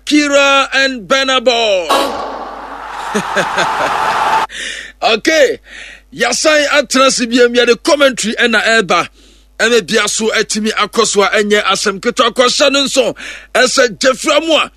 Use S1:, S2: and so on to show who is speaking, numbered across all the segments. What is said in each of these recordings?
S1: Shakira and Burna Boy. Okay, yɛasan atena ase biam, yɛde commentary ɛna ɛreba ɛna bia so atumi akɔ so a ɛnyɛ asɛm ketewa kɔhyɛ no nso ɛsɛ gyefra mu a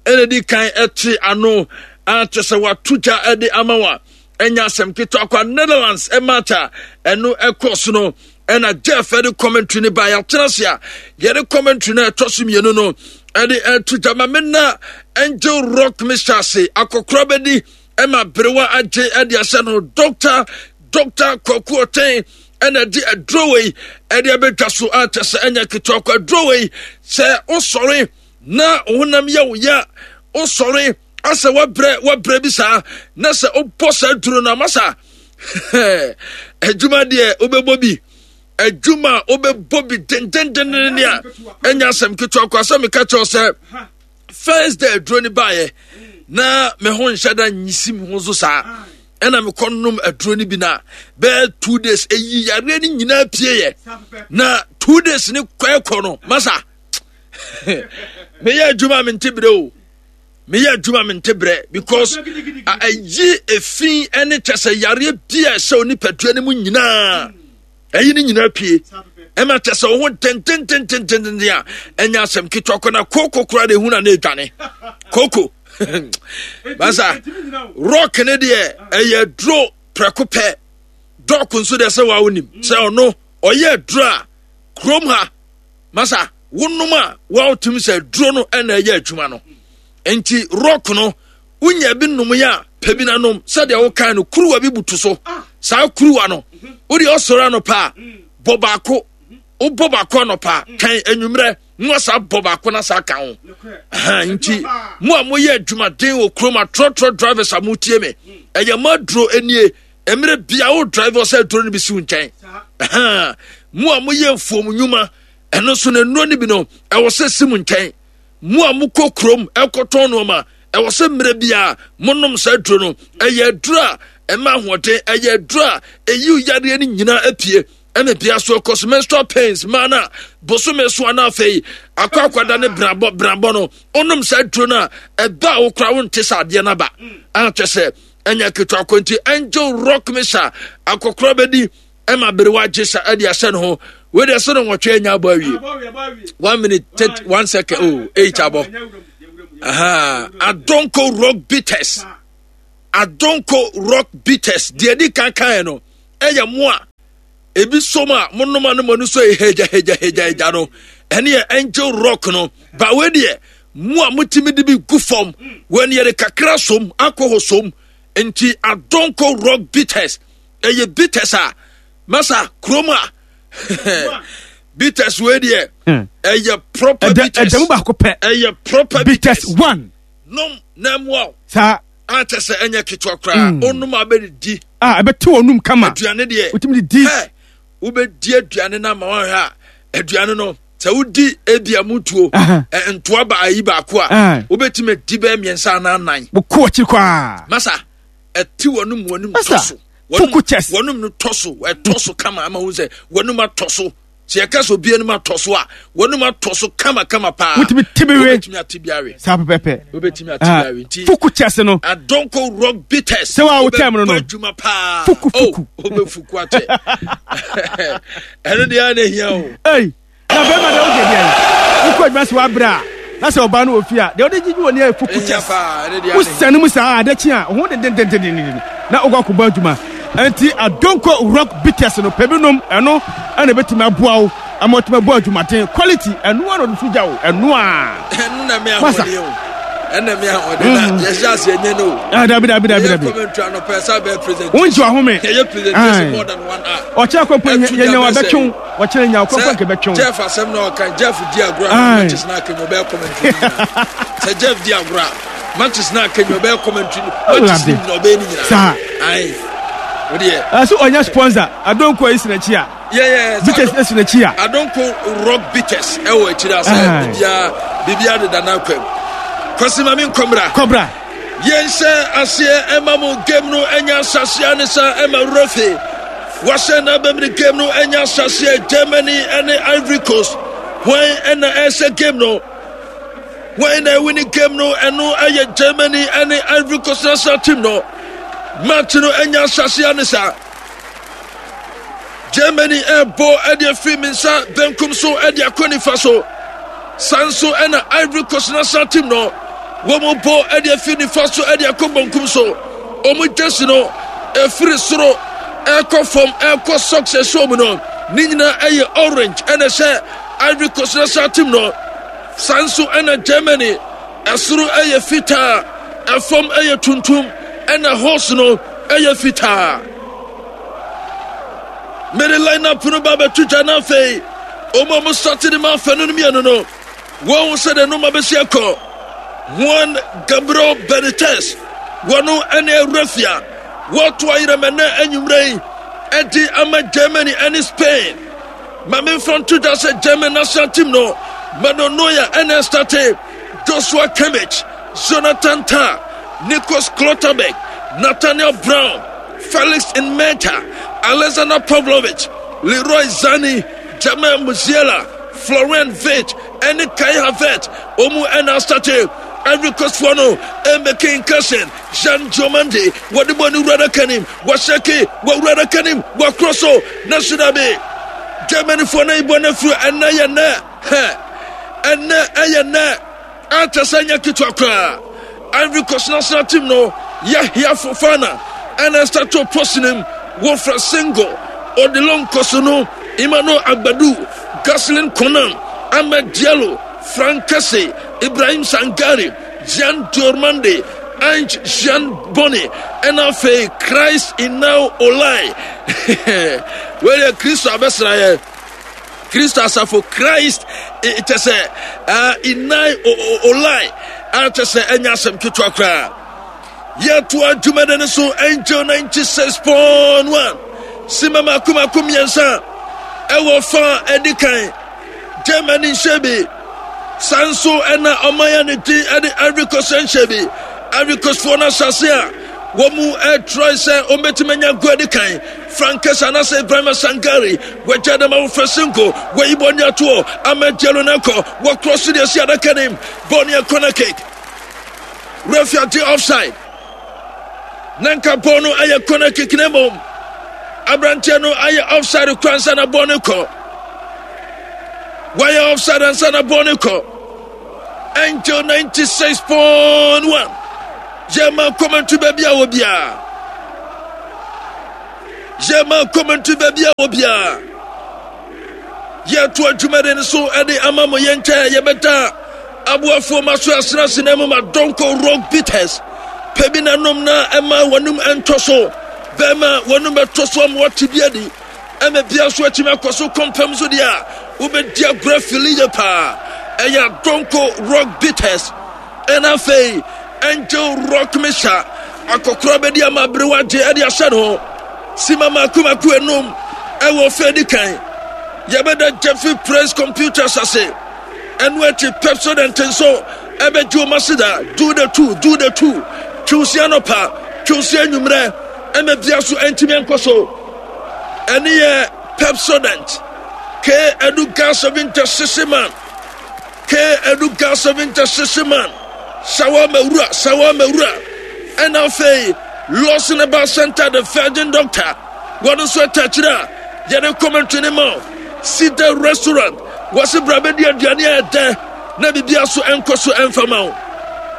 S1: ɛna di kan ɛte ano akyɛ sɛ wato gya ɛde ama wa ɛnyɛ asɛm ketewa kwa Netherlands ɛmatch a ɛno ɛkɔ so no ɛna Jeff ɛde commentary no ba yɛatena ase a yɛde commentary no ɛtɔ so mmienu no ɛde ɛto gya ma mena Angel Rock Mr. ase akɔkora bɛdi ɛma berewa agye ɛde ahyɛ no Dr. Dr. Kwaku Ɔtɛn ɛna ɛde aduro wei ɛde abɛdwa so akyɛ sɛ ɛnyɛ ketewa kɔ aduro wei sɛ wosɔre na honam yɛ wo ya wosɔre asɛ wabrɛ wabrɛ bi saa na sɛ wobɔ saa duro no ama saa adwuma deɛ wobɛbɔ bi adwuma a wobɛbɔ bi dendendenden a ɛnyɛ asɛm ketewa kɔ asɛ meka kyerɛw sɛ first day aduro no baeɛ na me ho nhyɛ da nyisi me ho so saa ɛna mekɔ nom aduro no bi na bɛyɛ 2 days ɛyi yareɛ no nyinaa pieeɛ na 2 days ne kɔɛkɔ no masa meyɛ adwuma mente berɛ o, meyɛ adwuma mente berɛ because ayi efi ne kyɛ sɛ yareɛ bi a ɛhyɛ onipadua no mu nyinaa ɛyi ne nyinaa pie ɛma kyɛ sɛ wo ho dendendendendenden a ɛnyɛ asɛm ketewa kɔ na kooko koraa de ehu na na edwane kooko basa rock ne deɛ ɛyɛ duro prɛko pɛ dɔk nso deɛ sɛ waa wonim sɛ ɔno ɔyɛ duro a kurom ha masa wonom a wɔatumi sɛ duro no ɛna ɛyɛ adwuma no nti rock no wonya bi nom yɛ a pɛ bi na nom sɛdeɛ wokan no kuruwa bi butu so saa kuruwa no wode ɔsɔre anɔpa a bɔ baako wobɔ baako anɔpa twɛn anwummerɛ na wasa bɔ baako na saa ka ho nti mo a moyɛ adwumaden wɔ kurom atrɔtrɔ drivers a motie me ɛyɛ mo aduro nie mmerɛ bia wo drive sɛ aduro no bi si wo nkyɛn. Mo a moyɛ mfuom nnwuma ɛno nso no nnuro no bi no ɛwɔ sɛ si mo nkyɛn. Mo a mokɔ kurom ɛkɔtɔn nneɛma ɛwɔ sɛ mmerɛ biara monom saa aduro no. Ɛyɛ aduro a ɛma ahoɔden, ɛyɛ aduro a ɛyi yareɛ no nyinaa apue ɛna bia so ɛkɔ so menstrual pains maa no a bosome so ana afei akɔ akwada ne brabɔ brabɔ no wonom saa aduro no a ɛba a wokora wonte sɛ adeɛ no aba akyɛ sɛ ɛnyɛ ketewa kɔ nti Angel Rock Misa akɔkora bɛdi ɛma berewa gye sa ɛde ahyɛ ne ho wei deɛ sɛ no nwɔtwe anya abɔ awie 1 minute 31 second, oh, 8 abɔ. Aha, Adonko Rock Bitters, Adonko Rock Bitters deɛ di kan kan no ɛyɛ mo a ebi som a monom a no mo ani so yɛ hegya hegya hegya hegya no ɛne yɛ Angel Rock no ba. Wei deɛ mo a motumi de bi gu fam wɔn yɛde kakra som alcohol som nti Adonko Rock Bitters ɛyɛ bitters a masa kurom a bitters wei deɛ ɛyɛ proper bitters.
S2: Ɛdɛmu baako pɛ.
S1: Ɛyɛ proper
S2: bitters one.
S1: Nom na ɛmoa wo
S2: saa.
S1: Akyɛ sɛ ɛnyɛ ketewa koraa. Onom a bɛdidi
S2: a ɛbɛte wɔn num kama.
S1: Aduane deɛ
S2: wotumi de di.
S1: Ɛ wobɛdi aduane no ama wahwɛ a aduane no sɛ wodi ebi a mutuo ntoa ba ayi baako a wobɛtumi adi bɛyɛ mmiɛnsa anaa nan.
S2: Wokɔ akyiri koraa.
S1: Masa ɛte wɔnum wɔnum tɔ so.
S2: Fuku chest.
S1: Wɔnum no tɔ so, ɛtɔ so kama ama ho sɛ wɔnum atɔ so. Sɛ yɛka sɛ obi anim atɔ so a wɔnum atɔ so kama kama paa.
S2: Wotumi ti bi we.
S1: Wobɛtumi ate bi awe.
S2: Saa pɛpɛpɛ.
S1: Wobɛtumi ate bi awe nti.
S2: Fuku chest no.
S1: Adonko Rock Bitters.
S2: Sɛ wa wotɛm no.
S1: Wobɛbɔ adwuma paa.
S2: Fuku fuku.
S1: Oh, wobɛfuku akyɛ. Ɛno deɛ ana hia o.
S2: Ei, na bɛrima deɛ wogye deɛ wokɔ adwuma sɛ wabrɛ a na sɛ ɔbaa no wɔ fie a deɛ wode gyigyi wɔ ne yɛ fuku chest wosane mu saa ade kye a ho dendendendenden na wokɔ akɔbɔ adwuma. Nti Adonko Rock Bitters no pɛ bi nom, ɛno ɛna ɛbɛtumi aboa wo ama watumi abɔ adwumaden quality. Ɛno a na ɔde so gya wo ɛno a.
S1: Ɛno na me ahoɔden o, ɛna me ahoɔden na yɛhyɛ ase ɛnyɛ no o.
S2: Ah, dabi dabi dabi dabi.
S1: Yɛ commentary anɔpɛ sɛ bɛyɛ presentation.
S2: Wongye wahome.
S1: Yɛyɛ presentation more than one hour.
S2: Ɔkyerɛ kɔ mpo yɛnya wabɛtwew ɔkyerɛ nya ɔkɔ mpo nkɛbɛtwew.
S1: Jeff asɛm na ɔka Jeff di agorɔ a matches na akenya ɔbɛyɛ commentary nyinaa sɛ Jeff di agorɔ a matches na akenya ɔbɛyɛ commentary matches ni nyinaa ɔbɛyɛ ne nyinaa.
S2: Saa.
S1: Ayi o deɛ.
S2: Ɛso ɔnyɛ sponsor Adonko ayi sinakyi a.
S1: Yeah,
S2: Bitters esi n'akyi a.
S1: Adonko Rock Bitters ɛwɔ akyiri asɛ biribiara biribiara deda n'akwam. Kwasi ma mi nkɔmra.
S2: Kɔbra.
S1: Yɛnhyɛ aseɛ ɛma mo game no ɛnya ahyɛseɛ ne sa ɛma refe. Wahyɛ n'abɛmini game no ɛnya ahyɛseɛ Germany ɛne Ivory Coast. Hwan ɛna ɛhyɛ game no? Wɔn na ɛwini game no, ɛno ɛyɛ Germany ɛne Ivory Coast national team no. Match no ɛnya ahyɛse ane saa. Germany ɛrebɔ ɛde afiri me nsa benkum so ɛde akɔ nifa so. Saa nso ɛna Ivory Coast national team no wɔn bɔ ɛde afiri nifa so ɛde akɔ benkum so. Wɔn jersey no ɛfiri soro ɛkɔ fam ɛkɔ socks ɛhyɛ wɔn no ne nyinaa ɛyɛ orange ɛna ɛhyɛ Ivory Coast national team no. Saa nso ɛna Germany ɛsoro ɛyɛ fitaa ɛfam ɛyɛ tuntum ɛna horse no ɛyɛ fitaa. Mede line up no ba bɛto dwa na afei wɔn a wɔsate de ma afɛ no mmienu no wɔn sɛ de noma bɛsi akɔ. Juan Gabriel Benitez wɔn ɛne Awurafia wɔto ayerɛmɛ nɛ anwummerɛ yi ɛde ama Germany ɛne Spain. Ma memfa nto dwa sɛ German national team no Manuel Neuer ɛna ɛstate, Joshua Kimmich, Jonathan Tah, Nikos Klotterbeck, Nathaniel Brown, Felix Nmecha, Alexander Pavlovic, Leroy Sane, Jamal Musiala, Florian Wirtz ɛne Kai Havertz. Wɔn ɛna astate. Ivory Coast foɔ no ɛmɛki incursion. Jean Diomande wɔde bɔ ne wura adaka nim, wɔhyɛke wɔ wura adaka nim, wɔakorɔ so na so dabi. Germanyfoɔ no ayibɔ no afiri ɛnɛ yɛ nɛ hɛ ɛnɛ ɛyɛ nɛ akyɛ sɛ nyɛ ketewa koraa. Ivory Coast national team no Yahya Fofana ɛna ɛstarto post nim wɔfrɛ single Odilon Kossounou, Emmanuel Agbadou, Gosselin Konan, Ahmed Diallo, Frank Kessé, Ibrahim Sangare, Jean Diormande, Ange Jean Bonny, ɛna afei Christ Inau Olai. Wei deɛ Kristo abɛsra yɛ. Kristo asafo Christ kyɛ sɛ Inai Olai akyɛ sɛ ɛnyɛ asɛm ketewa koraa. Yɛtoa dwumadi no so Angel 96.1 sima mako mako mmiɛnsa ɛwɔ fa ɛdi kan. Germany nhyɛ bi. Saa nso ɛna ɔman a ne din ɛde Ivory Coast nhyɛ bi. Ivory Coast foɔ no asase a wɔn mu ɛtrɔe sɛ wɔbɛtumi anya go adi kan. Frank Kesa anaasɛ Ibrahima Sangare wɔagya dɛm awofra Sinko wɔyi bɔ ne atoɔ Ahmed Diallo no akɔ wɔkorɔ so deɛ si adaka nim bɔɔl ne corner kick. Referee agye offside. Na nka bɔɔl no ayɛ corner kick na mmom aberanteɛ no ayɛ offside kora ansa na bɔɔl no kɔ. Wayɛ offside ansa na bɔɔl no kɔ. Angel 96.1 yɛma kɔmɛnto baabi a wɔ biara. Yɛma kɔmɛnto baabi a wɔ biara. Yɛto adwumadi no so de ama mo yɛn nkyɛn yɛbɛda Aboafoɔ ma so asenase na mmom adɔnkɔ rock bitters pɛ bi na nom na ɛma wɔnom ɛntɔ so bɛma wɔnom bɛtɔ so ama wɔte bi adi ɛma bia nso atumi akɔ so kɔmpam so deɛ a wobɛdi agorɔ afili yɛ paa ɛyɛ adɔnkɔ rock bitters ɛna afei angel rock mixture akɔkorɔ bɛdi ama aberewa gye ɛde ahyɛ ne ho sima mako mako enum ɛwɔ fɛ di kan yɛbɛda jeffrey praise computers ase Ɛno akyi Pepsodent nso ɛbɛgye wɔn aseda. Do the two, do the two. Twiw se anɔpa, twiw se anwummerɛ, ɛma bia so ɛntumi ɛnkɔ so. Ɛne yɛ Pepsodent. K ɛdu gas of intercession man. K ɛdu gas of intercession man. Sawa mawura, sawa mawura. Ɛna afei Lawson Herbal Center, the Virgin Doctor. Wɔn nso ɛtɛkyerɛ a yɛde commentary ne ma. Cedar Restaurant. Wɔse bra bɛdi aduane a ɛdɛ na biribia so ɛnkɔ so ɛmfa ma wo.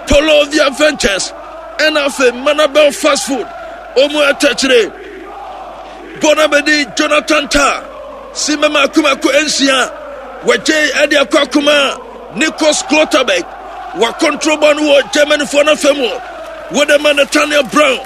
S1: Polovia Ventures ɛna afei Manabel Fast Food ɔmu atɛkyere. Bɔna bɛdi Jonathan Tah si mɛma akomako nsia wɔgye ɛde akɔ akoma Nikos Klotterbeck wakɔntro bɔ no wɔ Germanyfoɔ no afɛ mu wɔde ma Nathaniel Brown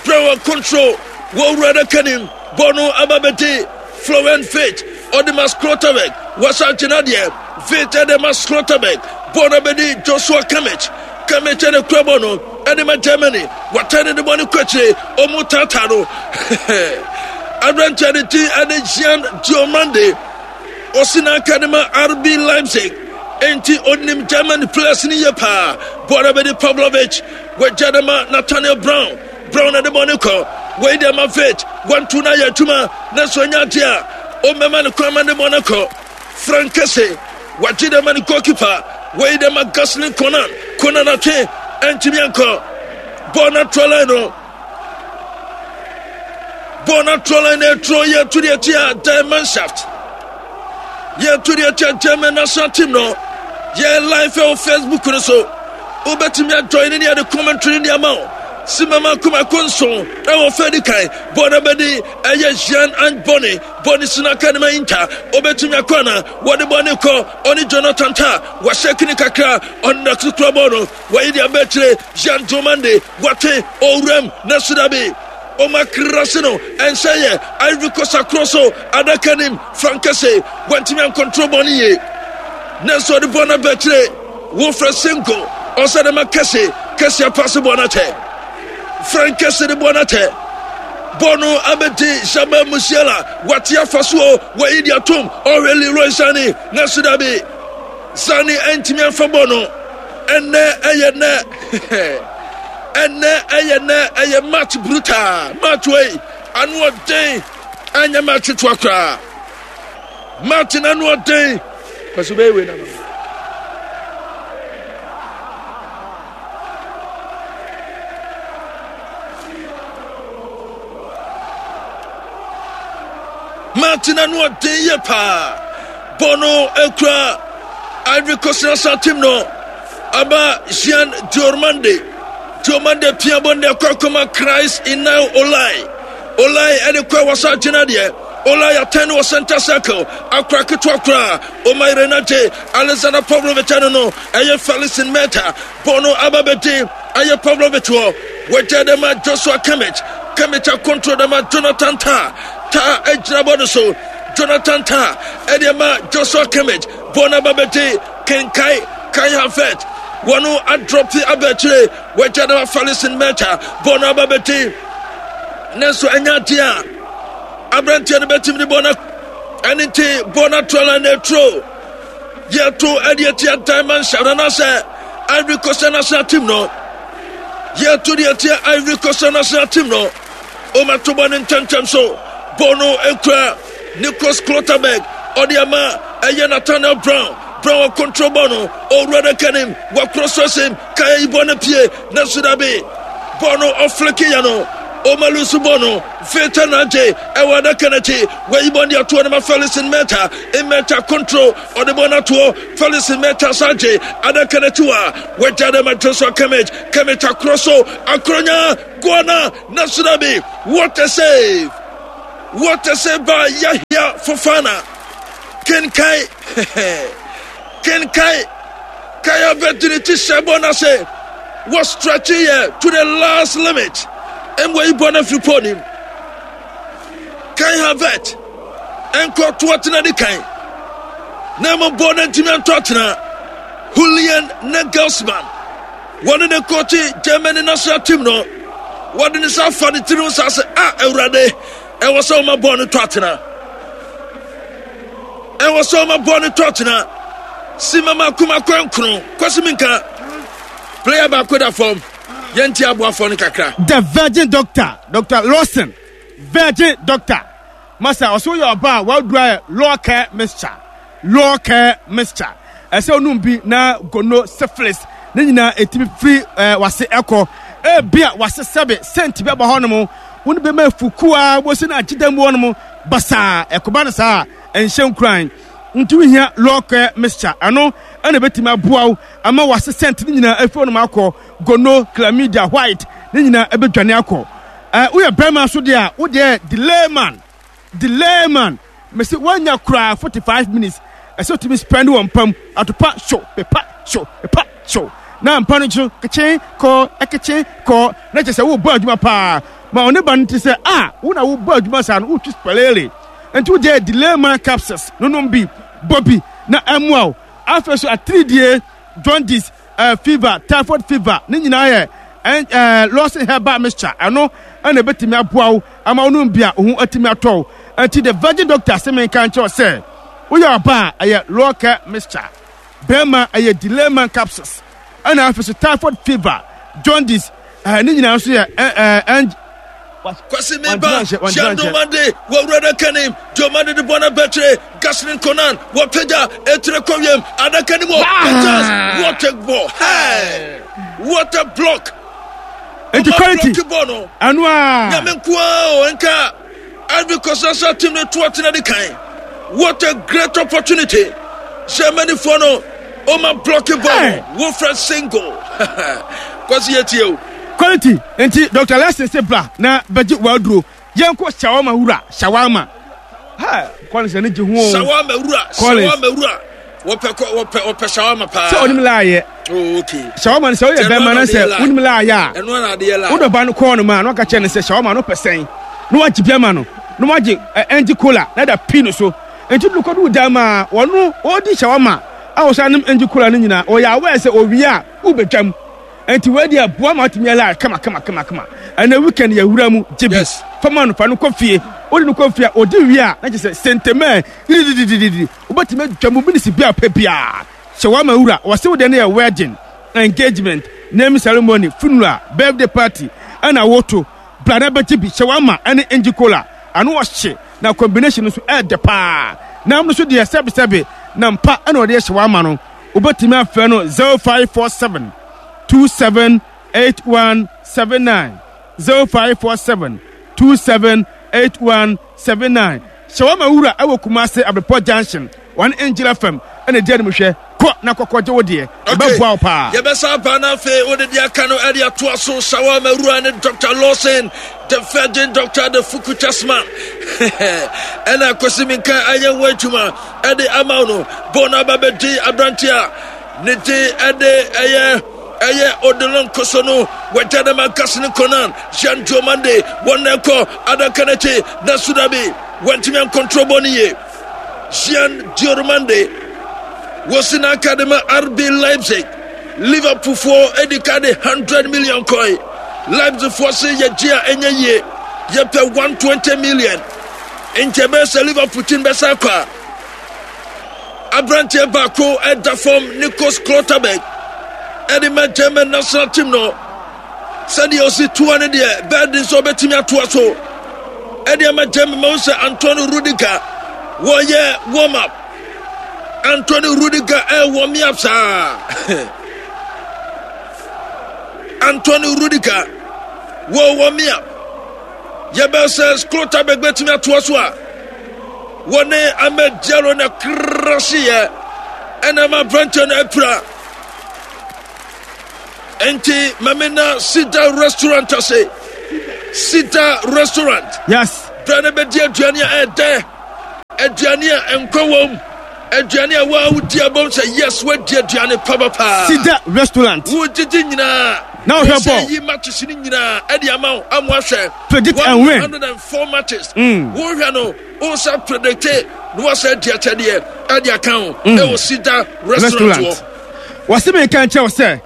S1: Brown akɔntro wɔ wura adaka nim bɔ no aba bɛdi Florian Wirtz ɔde ma Schlotterbeck wasan gyina deɛ Wirtz ɛde ma Schlotterbeck bɔɔl no abɛdi Joshua Kimmich Kimmich ɛde kura bɔɔl no ɛde ma Germany watan ne de bɔɔl no kɔ akyire ɔmo taataa no aberanteɛ de ti ɛde Jean Diomande ɔsi n'aka de ma RB Leipzig enti onim Germany players no yie paa bɔɔl no abɛdi Pavlovic wagya de ma Nathaniel Brown Brown na de bɔ ne kɔ. Wei deɛ ma Faith wantu no ayɛ adwuma nanso ɛnyɛ adeɛ a ɔmmɛma no kwan ma ne bɔ no kɔ. Frank Kese wagye de ma ne goalkeeper. Wei dɛ ma Gaslin Conan. Conan atwe ɛntumi ankɔ. Bɔɔl no atrɔ line no. Bɔɔl no atrɔ line no ɛtrɔ yɛ to deɛ tia Der Mannschaft. Yɛ to deɛ tia German national team no. Yɛ live wɔ Facebook no so. Wobɛtumi ajoin ne yɛde commentary ne ama wo. Simama kumako nson ɛwɔ fɛ di kan. Bɔɔl no bɛdi ɛyɛ Jean Ange Bonny. Bɔne si n'aka ne ma nta obetumi akɔ ana wɔde bɔne kɔ ɔne Jonathan Ta wahyɛ kini kakra ɔne na kura bɔɔl no wɔyi de abɛkyerɛ Jean Diomande wɔtwe owuram na sudabi ɔma krase no ɛnhyɛ yɛ Ivory Coast akorɔ so adaka nim Frankese wɔntumi ankɔntro bɔne yie nanso ɔde bɔɔl no abɛkyerɛ Wilfred Singo ɔsɛ de ma kɛse kɛse apase bɔɔl no akyɛ Frank kɛse de bɔɔl no akyɛ bɔɔl no abɛdi Jamal Musiala wate afa so o wɔyi de atom ɔhwɛ Leroy Sane nanso dabi Sane antumi amfa bɔɔl no ɛnɛ ɛyɛ nɛ ɛnɛ ɛyɛ nɛ ɛyɛ match brutal match wei ano ɔden ɛnyɛ match toa koraa Martin ano ɔden. Kwasi bɛyɛ wei na ma. Martin ano ɔden yie paa. Bɔ no ekura Ivory Coast national team no. Aba Jean Diormande. Diormande pia bɔ no de akɔ akɔma Christ Inao Olai. Olai ɛde kɔ ɛwɔ sa gyina deɛ. Olai atɛn no wɔ center circle. Akora ketewa koraa. Oma Renate Alexander Pavlovich ɛno no ɛyɛ Felicin Meta. Bɔ no aba bɛdi ɛyɛ Pavlovich wɔ. Wɔgya dɛ ma Joshua Kimmich. Kimmich akontro dɛ ma Jonathan Tah. Tah agyina bɔ no so. Jonathan Tah ɛde ma Joshua Kimmich. Bɔ no aba bɛdi Kenkai Kai Havertz. Wɔn adrɔpe aba akyire. Wɔagya dɛ ma Felicin Meta. Bɔ no aba bɛdi. Nanso ɛnyɛ adeɛ a aberanteɛ no bɛtumi de bɔ no ɛne nti bɔ no ato ala na ɛturo yɛto ɛde atia diamond hyɛ anaasɛ Ivory Coast national team no yɛto de atia Ivory Coast national team no ɔmato bɔ no ntɛmntɛm so bɔ no ekura Nicholas Klotterberg ɔde ama ɛyɛ Nathaniel Brown Brown control bɔ no owura no kanim wakorɔ so asim kaya yi bɔ no pie nanso dabi bɔ no ɔfleke yɛ no ɔma lusu bɔ no Victor Nante ɛwɔ adaka no akyi wayi bɔ de atoɔ no ma Felix Meta Meta control ɔde bɔ no atoɔ Felix Meta Sante adaka no akyi wa wagya de ma Joshua Kimmich Kimmich akorɔ so akoronya Guana Nasudabi what a save what a save by Yahya Fofana Kenkai Kenkai Kaya bɛtiri ti hyɛ bɔ no ase wɔ stretch yɛ to the last limit ɛmu ayi bɔ no afiri pɔ nim Kai Havertz ɛnkɔ to atena di kan na ɛmu bɔ no ntumi antɔ atena Julian Nagelsmann wɔne ne kɔɔkye Germany national team no wɔde ne nsa afa ne tiri ho saa sɛ a awurade ɛwɔ sɛ wɔma bɔɔl no tɔ atena ɛwɔ sɛ ɔma bɔɔl no tɔ tena si mama kuma kɔnkron kwasi mi nka player baako da fam yɛnti aboafoɔ no kakra.
S2: The Virgin Doctor, Doctor Lawson, Virgin Doctor. Masa, ɔsɛ woyɛ ɔba a waduru ayɛ law care mixture, law care mixture. Ɛsɛ onum bi na gono syphilis ne nyinaa ɛtumi firi ɛɛ wase ɛkɔ. Ebi a wase sɛbe sɛnti bi aba hɔ nom, wɔn bɛma efukuo a wɔsi na agyeda mu hɔ nom basaa. Ɛkɔba no saa a ɛnhyɛ nkuran. Nti wohia law care mixture. Ɛno ɛna ɛbɛtumi aboa wo ama wase sɛnti ne nyinaa afiri hɔ nom akɔ. Gono, chlamydia, white ne nyinaa ɛbɛdwane akɔ. Ɛɛ woyɛ bɛrima nso deɛ a wo deɛ delay man, delay man. Mese woanya koraa 45 minutes ɛsɛ wotumi spend wɔ mpa mu atopa hyew pepa hyew pepa hyew na mpa no nso kekye kɔ ɛkekye kɔ na kyerɛ sɛ wobɔ adwuma paa ma ɔne ba no te sɛ a wo na wobɔ adwuma saa no wotwi spɛlele nti wo deɛ delay man capsules no nom bi bɔ bi na ɛmmoa wo afei so atiridie jaundice eh, fever, typhoid fever, ne nyinaa yɛ eh, Lawson herbal mixture. Ɛno ɛna ebetumi aboa wo ama wo nom bi a wo ho atumi atɔ wo. Nti the virgin doctor se menka nkyerɛ wo sɛ woyɛ ɔbaa a ɛyɛ Lawcare mixture, bɛrima ɛyɛ Delayman capsules, ɛna afei so typhoid fever, jaundice, eh, ne nyinaa nso yɛ eh, eh, eh,
S1: Kwasi Meba, Jean Domande, wɔwura adaka nim, Domande de bɔ no abɛkyere, Gaslin Konan, wɔpagya, etire kɔ wiem, adaka nim wɔ, chance, what a ball, hey, what a block.
S2: Nti quality, ɛno a.
S1: Nyame nkoa o, nka Ivory Coast national team no to ɔtena di kan. What a great opportunity. Germany foɔ no, ɔma block ball no, Wilfred Singo. Kwasi yɛ tie o.
S2: Quality nti Doctor Lesson se bra na bɛgye w'aduro. Yɛnkɔ shawarma wura, shawarma. Ha, Collins ani gye ho o.
S1: Shawarma wura, shawarma wura. Wɔpɛ kɔ wɔpɛ wɔpɛ shawarma paa.
S2: Sɛ onim laayɛ.
S1: Oh, okay.
S2: Shawarma no sɛ woyɛ bɛrima na sɛ wonim laayɛ a.
S1: Ɛno na adeɛ laa.
S2: Wodɔ ba no kɔɔ no ma na waka kyerɛ no sɛ shawarma no pɛ sɛn. Na wagye bi ama no. Na wagye ɛngye cola na da pii no so. Nti do kɔdu dan ma wɔno ɔdi shawarma a wɔsan nom ɛngye cola no nyinaa. Ɔyɛ aware sɛ owie a wobɛtwam. Nti wei deɛ boa ma atumi ala kama kama kama kama. Ɛnɛ weekend yɛ wura mu gye bi. Fa ma no fa no kɔ fie. Wode no kɔ fie a ɔdi wie a na kyerɛ sɛ sentema didididididi. Wobɛtumi adwa mu minisi bi a wopɛ biara. Shawarma wura, wɔse wo deɛ no yɛ wedding, engagement, naming ceremony, funeral, birthday party ɛna woto. Bra na bɛgye bi. Shawarma ɛne Inji Cola, ano ɔhye na combination no nso ɛɛdɛ paa. Nam no nso deɛ sɛbesɛbe nam pa ɛna wɔde yɛ shawarma no. Wobɛtumi afrɛ no 0547 27 8179, 0547 27 8179. Shawarma wura ɛwɔ Kumasi Abrepɔ Junction, wɔne Angel FM ɛna ɛdi anim hwɛ. Kɔ na kɔkɔ gye wo deɛ, ɛbɛboa wo paa.
S1: Yɛbɛsa aba na afei wode deɛ aka no ɛde atoa so. Shawarma wura ne Dr. Lawson, the virgin doctor, the Fuku chessman. Ɛna Kwasi Minka ayɛ ho adwuma ɛde ama wo no. Bɔɔl no aba bɛdi aberante a ne din ɛde ɛyɛ ɛyɛ Odilon Koso no wagya dɛm ankasa ne Conan Jean Diomande wɔn na ɛkɔ adaka no akyi na Sudabi wantumi ankɔntrɔ bɔ no yie. Jean Diomande wɔsi n'aka de ma RB Leipzig. Liverpool foɔ edi ka de 100 million kɔe. Leipzig foɔ se yɛgye a ɛnyɛ yie yɛpɛ 120 million. Nti ɛbɛyɛ sɛ Liverpool team bɛsa akɔ a aberanteɛ baako ɛda fam Nikos Klotterberg ɛde ma German national team no sɛdeɛ ɔsi toa no deɛ bɛɛde nso ɔbɛtumi atoa so ɛde ama German ma sɛ Antonio Rudiger wɔyɛ warm up Antonio Rudiger ɛwɔ me up saa Antonio Rudiger wɔwɔ me up Yɛbɛn sɛ Schlotterbeck bɛtumi atoa so a wɔne Ahmed Diallo na krasiyɛ ɛna ma aberanteɛ no apira. Enti mame na Sida restaurant ase. Sida restaurant.
S2: Yes.
S1: Bra na bɛdi aduane a ɛdɛ. Aduane a nkwa wom. Aduane a waa wodi abom sɛ yes wadi aduane papapaa.
S2: Sida restaurant.
S1: Wogyegye nyinaa.
S2: Na wohwɛ bɔɔl.
S1: Yi matches no nyinaa ɛde ama wo ama ahwɛ.
S2: Predict and win.
S1: 104 matches. Wohwɛ no wosa predicte na wasa adi akyɛdeɛ ɛde aka ho. Ɛwɔ Sida restaurant hɔ.
S2: Wɔsi mi nka nkyɛw sɛ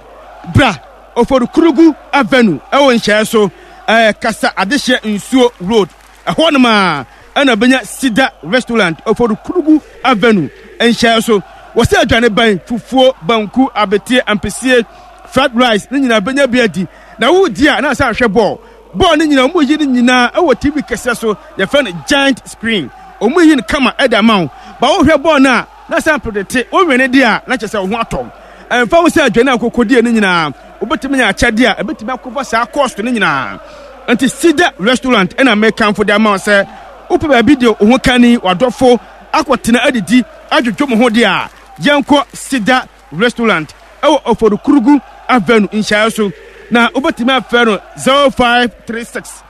S2: bra Oforikurugu Avenue ɛwɔ nhyɛɛ so ɛɛ Kasa Adehyeɛ Nsuo Road. Ɛhɔ nom ara na wobɛnya Cedar Restaurant, Oforikrugu Avenue nhyɛɛ so. Wɔsɛ aduane bɛn, fufuo, banku, abeteɛ, ampesie, fried rice, ne nyinaa bɛnya bi adi. Na woredi a na asan ahwɛ bɔɔl. Bɔɔl no nyinaa wɔyi no nyinaa wɔ TV kɛseɛ so, yɛfrɛ no giant screen. Wɔyi no kama de ama wo. Ba wohwɛ bɔɔl no a na asan predete, wowene deɛ a na kyerɛ sɛ wo ho atɔ wo. Ɛmfa ho sɛ aduane a wokɔkɔdie no nyinaa Wobɛtumi anya akyɛdeɛ a ɛbɛtumi akɔfa saa cost no nyinaa. Nti Cedar Restaurant ɛna mekamfo de ama wo sɛ wopɛ baabi de wo ho kani, w'adɔfo akɔtena adidi adwodwo mo ho deɛ a, yɛnkɔ Cedar Restaurant ɛwɔ Oforikrugu Avenue nhyiaeɛ so. Na wobɛtumi afrɛ no 0536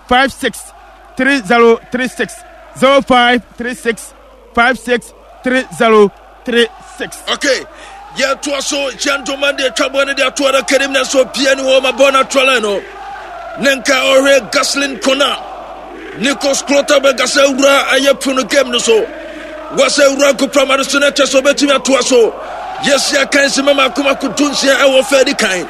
S2: 56 3036 0536 56 3036.
S1: Okay. Yɛtoa so gentleman de atwa bɔ no de ato adaka nim nanso obia ni hɔ ma bɔ no atoa line no ne nka ɔhwɛ Gaslin Kona Nikos Klotterberg asɛ wura ɛyɛ pono game no so wɔsɛ wura nkoprama no so na ɛkyɛ sɛ ɔbɛtumi atoa so yɛsi akan si mama akomako dunsia ɛwɔ fɛ di kan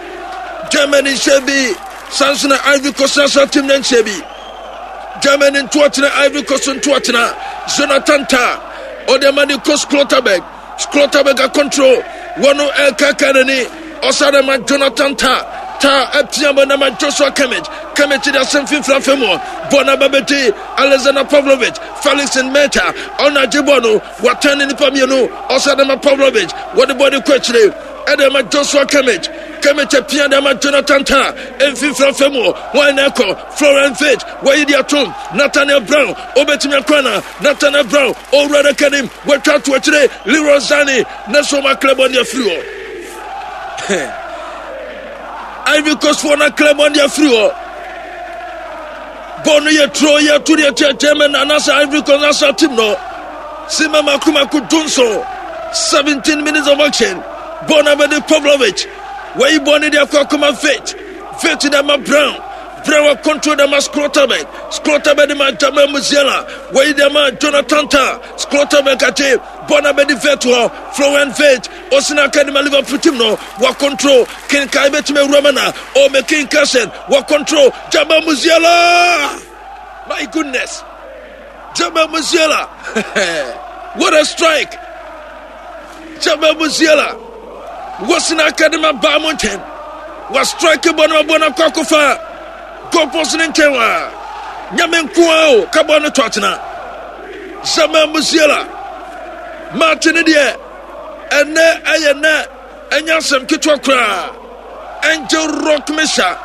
S1: Germany nhyɛ bi sanso na Ivory Coast national team no nhyɛ bi Germany ntoɔtena Ivory Coast ntoɔtena Jonathan Tah ɔde ama Nikos Klotterberg Schlotterbeck control wɔn ɛkaka n'ani ɔsa de ma Jonathan Tah. Tah apia bɔ na ma Joshua Kimmich. Kimmich de asɛm mfimfini afa mu. Bɔɔl no aba bɛdi Alexander Pavlovic, Felix Nmeta. Ɔno agye bɔɔl no, watɛn ne nipa mmienu. Ɔsɛ de ma Pavlovic, wɔde bɔɔl no kɔ akyire. Ɛde ma Joshua Kimmich. Kimmich apia de ama Jonathan Tah. Mfimfini afa mu, wɔn na ɛkɔ. Florian Wirtz, wɔyi de atom. Nathaniel Brown, obetumi akɔ ana? Nathaniel Brown, owura adaka nim, watwa ato akyire. Leroy Sane, na so ɔma Clermont de afiri hɔ. Ivory Coast foɔ na Clermont de afiri hɔ. Bɔɔl no yɛ turo yɛ to deɛ kyɛ German anaasɛ Ivory Coast national team no. Sima mako mako dunson 17 minutes of action. Bɔɔl no abɛde Pavlovic. Wɔyi bɔɔl no de akɔ akɔma Vit. Vit de ama Brown. Brown wa control de ama Schlotterbeck. Schlotterbeck de ma Jamal Musiala. Wɔyi de ama Jonathan Tah. Schlotterbeck akye bɔɔl no abɛde Vit hɔ. Florian Vit. Osina aka de ma Liverpool team no. Wa control. Kenkan betumi awura ma na. Oh, making Carson. Wa control. Jamal Musiala. My goodness. Jamal Musiala. What a strike. Jamal Musiala. Wasina aka de ma Bayern Munchen. Wa strike bɔ no bɔ no akɔ akɔfa. Goal post ne nkyɛn wa. Nyame nko ara o ka bɔ no to atena. Jamal Musiala. Match ne deɛ ɛnɛ ɛyɛ nɛ Ɛnyɛ asɛm ketewa koraa. Angel Rock Mesa.